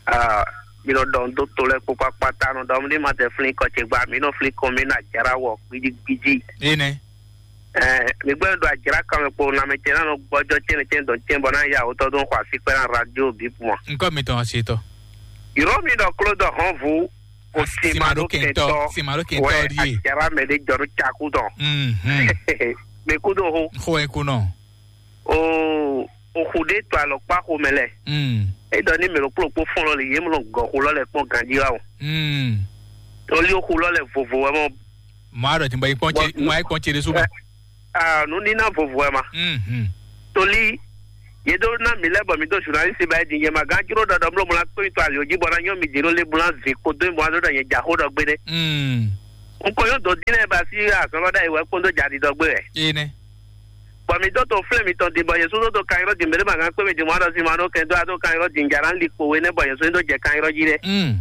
Aa mi nɔ dɔn do to lɛ kpokpo akpata nɔ dɔn mi ma tɛ flin kɔ ce gba mi nɔ flin kɔn mi na jara wɔ gbidi gbidi. E nɛ. Ɛɛ mi gbɛ do ajra kan mi kpo na mi tɛ na nɔ gbɔjɔ tɛnɛ tɛnɛ dɔn tɛnɛ bɔ na ya wotɔ dɔn xɔ asi kpɛ na radio bi puma. Nkɔ mi tɔn asi tɔ. Yɔrɔ mi dɔ klo dɔ hɔn vu. O simaro kentɔ simaro kentɔ di ye. Ajara mɛ de jɔrɔ caku dɔn. Mhm. Mi kudo ho. Xo e kunɔ. Oo, oxu ɖé to alɔkpa xomɛ lɛ. Mm. E dɔ ni mɛ ɖokpó ɖokpó fɔn lɔ le yé mlɔ gɔ xu lɔ lɛ kpɔn ganji wa o. Mm. Toli oxu lɔ lɛ vovo wɛ mɔ. Mɔ a ɖɔ tí mo yi kpɔn tse mo yi kpɔn tse ɖe su ma. Ah, nu nina vovo wɛ ma. Mm. Toli Yě ɖó ná mǐ lɛ́ɛ bɔ mǐ ɖo zunalísi ba é din, nyɛ ma gán jló ɖɔ ɖɔ mló mlá kpé mitɔn ali jí bɔ ná nyɔ́ mi din ɖó le mlá zǐn kó dó mɔ ɖó ɖɔ nyɛ jǎ xó ɖɔ gbé ɖé. Un kɔn nyɔ́ dǒ dín lɛ́ɛ ba sí azɔn lɔ ɖ'ayǐ wɛ kpódó jǎ ɖiɖɔ gbé wɛ. Énɛ́. Bɔ mǐ dó to flɛ́ mitɔn din bɔ yě sú dó to kan ylɔ́ din mɛ ɖé ma gán kpé mi din mɔ ɖɔ sin ma ɖó kɛn dó adó kan ylɔ́ din jǎ ná li kpo we nɛ́ bɔ yě sú dó jɛ kan ylɔ́ jí ɖé. Un.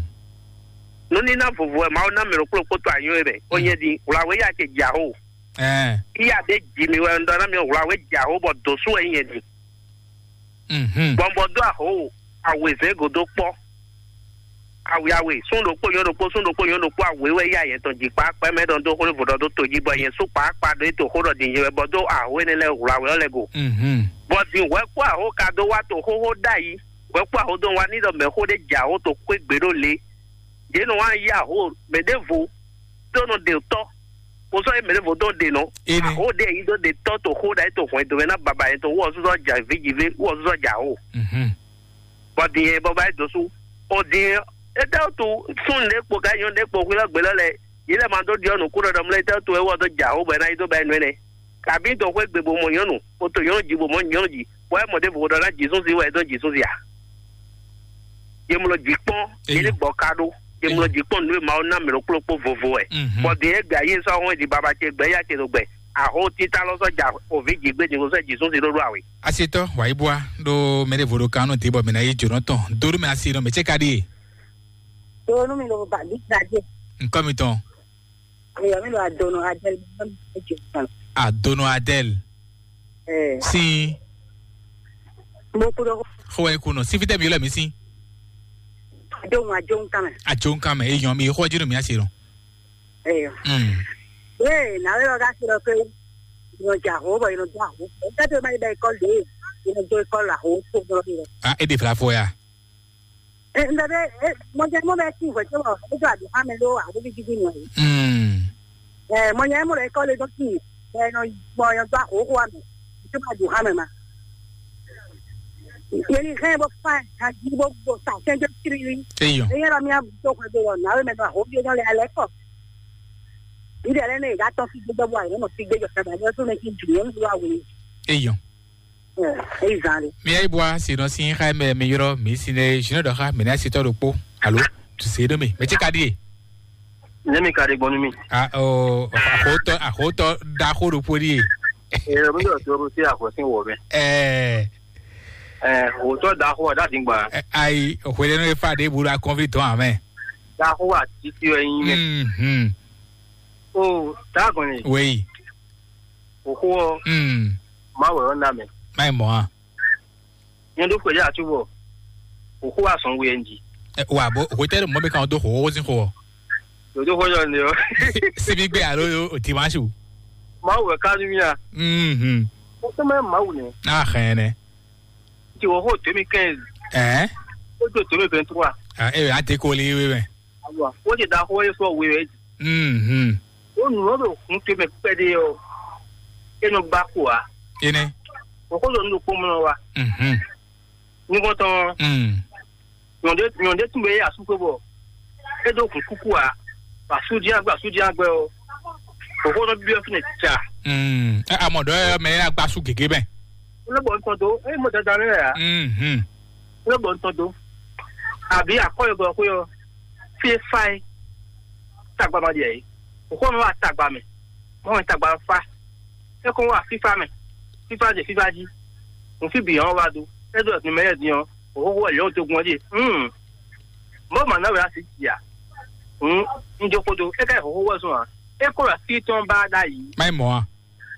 Nǔníná vovo wɛ Mawu ná mɛ ɖokpó ɖokpó to anyɔ e mɛ. Ó nyɛ din wlǎwé ya ce jǎ xó. Ɛɛ. Iya ɖé ji mi wɛ un ɖɔ ná mi wlǎwé jǎ xó bɔ dǒ sú wɛ nyɛ din. Mhm. Bɔ un bɔ dó axǒ awězɛ́n gǒdó kpɔ́. Awě awě, sún ɖokpó nyɔ́ ɖokpó, sún ɖokpó nyɔ́ ɖokpó, awě wɛ yá yɛ tɔn jǐkpá kpɛ́ mɛ ɖɔ dó xwlé vodɔ dó to jí bɔ nyɛ sú kpǎkpá ɖó é to xó ɖɔ din nyɛ wɛ bɔ dó axǒ énɛ́ lɛ́ɛ hwlǎ wɛ ɔ́ lɛ́ɛ go. Mhm. Bɔ din hwɛ kpó axǒ ka dó wá to xóxó ɖ'ayǐ, hwɛ kpó axǒ dó wá ní ɖɔ mɛxó ɖé jɛ axǒ to xwé gbě ɖó lě. Yě nɔ wá yí axǒ mɛ ɖěvo tó nɔ ɖe tɔ́, kó sɔ́ yí mɛ ɖěvo tó ɖe nɔ. Énɛ́. Axǒ ɖé yí dó ɖe tɔ́ to xó ɖ'ayǐ to hwɛndo mɛ ná baba yɛ to wú ɔ́ súsɔ ja vǐ ji vǐ wú ɔ́ súsɔ ja axǒ. Mhm. Bɔ din yɛ bɔ ba yi dǒ sú. O din étɛ́ wútu súnnu ɖé kpo ká nyɔ̌nu ɖé kpo xwilɔ́ gbě lɔ lɛ́ɛ, yě lɛ́ ma dó ɖiɔ nǔkú ɖɔɖɔ mlɛ́ étɛ́ wútu é wɔ dó jǎ xó bɔ é ná yi dó ba yi nú énɛ́. Kabí dó xwé gbe bó mɔ nyɔ̌nu, o to nyɔ̌nu ji bó mɔ nyɔ̌nu ji, bɔ é mɔ ɖěvo ɖɔ ná jǐ súnsi wɛ é dó jǐ súnsi a? Yě mlɔ jǐ kpɔ́n, yě ní Eyɔ. Bɔ ka ɖó, yě mlɔ Eyɔ. Jǐ kpɔ́n nǔ e Mawu ná mɛ ɖokplɔ́kpó vovo wɛ. Mhm. Bɔ din é gbɛ ayé sɔ́ hɔn di baba ce gbɛ ya ce ɖo gbɛ. Axó títá lɔ sɔ́ ja òví jǐ gbé din sɔ́ jǐ súnsi ɖó ɖó awě. Asetɔ wayibua ɖo mɛ ɖěvo ɖo kan nɔ te bɔ mɛ na yi jǒnɔ tɔn dó ɖó mɛ asi nɔ mɛ cɛ ka ɖie. Donu mi lo ba bi gaje. Nkɔ mi tɔn. Eya mi lo adono adel mi lo mi je kan. Adono adel. Eh. Si. Mo kudo. Xo e kuno. Si fitɛ mi lo mi si. Adono ajon kame. Ajon kame e yan mi xo jinu mi asi no. Eh. Mm. Eh, na we ga siro ke. Yo ja ho ba yo ja ho. Ka to ma ba ko le. Yo jo ko la ho ko no. Ah, e de fla fo ya. Ɛ, ŋɖɔ ɖe, ɛ, mɔjɛmɔ bɛ sin hwɛ tɔn, e do adu hame ɖo aɖovi didi nɔ ye. Mm. Ɛ, mɔjɛmɔ ɖe kɔ le dɔ sin, ɛ, nɔ gbɔ yɔ do ahoho ame, to ma du hame ma. Yeli hɛn bo fa, ha ji bo bo sa sɛn jo kiri. Eyɔ. Eyɛ la mi a do hwɛ do lɔ, na we mɛ do ahoho bi nɔ le alɛ kɔ. Yi de lɛ ne ga tɔ fi gbegbe bo ayi nɔ fi gbegbe kaba, yɔ so ne ki du yɔ do awe. Eyɔ. Eyi zan ɖe. Mi ayi bua si nɔ si xa mɛ mi yrɔ mi si ne jino dɔ xa mi na si tɔ ɖokpo. Alo, tu se ɖo mi. Mɛ tse ka ɖi e? Ne mi ka ɖi gbɔnu mi. A o axotɔ axotɔ daxo ɖokpo ɖi e. Ee, mi ɖɔ to ɖo si axɔ si wɔ mɛ. Ɛɛ. Ɛɛ, axotɔ daxo da di gba. Ayi, hwele nɔ efa ɖe bu ɖo akɔnvi dɔn amɛ. Daxo wa titi wɛ nyi mɛ. Mhm. O, dagɔn ni. Wei. Òxó ɔ́, Mm. Mawu wɛ ɔ́ ná mɛ. Má yi mɔ a. Nyɛ ɖó xwedí acu bɔ òxó wa sɔn we ɛ nji. Ɛ, wa bo hotɛli mɔ bɛ kan do xo xo sin xo. Dodo xɔ yɔ ne ɔ. Sibi gbe alo o dimanche. Mawu wɛ ka nú mía. Mhm. Ó tẹ́ mẹ́ Mawu nɛ. A xɛn nɛ. Ti wɔ xó deux mille quinze. Ɛ. Ó do deux mille vingt-trois. A e a te ko li we mɛ. Awa, wọ́n ti da xó e fɔ we wɛ. Mhm. Ó nù ọ́ ɖo hun te mɛ kpɛɖé ɔ́, é nɔ gbá ko ǎ. Ene. Òkú ɖo nu ɖokpó mɔ wa. Mhm. Nukɔntɔn. Mm. Nyɔnde nyɔnde tún bɛ yé asúkwe bɔ é ɖo hun kúkú ǎ. Asúdí agbɛ asúdí agbɛ ɔ́. Òkú nɔ bibiɔ fínɛ tsa. Mm. Ɛ amɔ dɔ yɛ mɛ yɛ agbasu gègé mɛ. Ó lè bɔ nutɔn dó, é mɔ dandan lɛ yà. Mhm. Ó lè bɔ nutɔn dó. Àbí àkọ́ yɛ gbɔ xwé ɔ. Fífá é tagba ma ɖi ɛ. Òkú ɔmɛ wa tagba mɛ. Mɔ wɛ tagba fa. É kɔn wa fífá mɛ. Fífá jɛ fífá jí. Nǔ fí bǐ ɔ́ wa do. É ɖo ɛ̀sìn mɛ yɛ din ɔ́. Òkú wɛ lɛ̌ wò tó gun ɔ́ jí. Hmm. Mɔ màná wɛ asi jì à. Hmm. Ń jó kódó. É ká ìhòhò wɛ zɔn à. É kó wɛ fí tɔn bá dá yìí. Má yi mɔ a.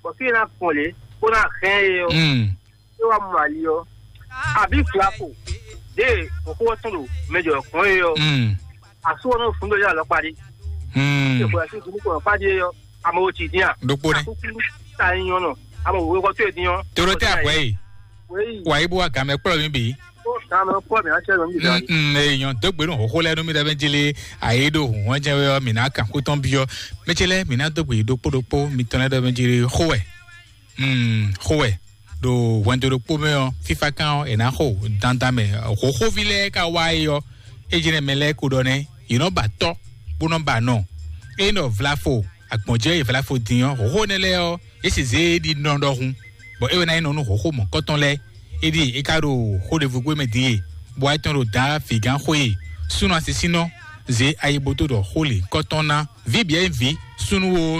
Bɔ fí ná kpɔn lé. Kó ná hɛn é ɔ. Hmm. É wá mɔ ali ɔ. Àbí flapo. Dé òkú ɔ́ tún ɖo mɛjɔ kɔn é ɔ. Hmm. Àsúwọ̀n náà fún lórí àlọ́ parí. Hmm. Ìfọ̀yà sí ìdúró kọ̀ọ̀kan parí é ɔ. Àmọ́ o ti dín à. Dókpó ni. Àkókò ta yín ọ̀nà. Àmọ́ òwe kọ́ tó èdè yàn. Toro tẹ àpò yìí. Wéyí. Wà á yí bó wa gàmẹ́ kplɔ́ mi bì. Ó gàmẹ́ kplɔ́ mi á tẹ́ lọ níbi dáa. Mm, èèyàn dógbè nù hóhó lẹ́nu mi dẹ́bẹ́ jele àyè ɖo hùn wọ́n jẹ́ wé ọ́ mi ná kà kó tɔn bí ọ́. Mẹ́tsẹ́ lẹ́ mi ná dógbè dókpódókpó mi tɔn lẹ́ dɛbẹ́ jele xó wɛ. Mm, xó wɛ. Ɖo hwɛndo ɖokpó mɛ ɔ, fífá kan ɔ, è nǎ xo dandan mɛ. Xóxóví lɛ́ɛ ka wá é ɔ, é jɛnɛ mɛ lɛ́ɛ ko ɖɔ nɛ́, yě nɔ ba tɔ́, bó nɔ ba nɔ. É nɔ vlafo, agbɔ̌njɛ e vlafo din ɔ, xóxó nɛ lɛ́ɛ ɔ, é sì zé é ɖi nɔ ɖɔhun, bɔ é wɛ ná nyí nɔ nú xóxó mɔ̌kɔtɔn lɛ́ɛ. É ɖíe é ka ɖo xó ɖěvo gbé mɛ din e, bɔ ayetɔn ɖo dǎ vǐgán xwé e súnnu asisínɔ zě ayiboto ɖɔ xó lě kɔ́tɔn ná. Vǐ bǐ ɛ nyí vǐ súnnu o.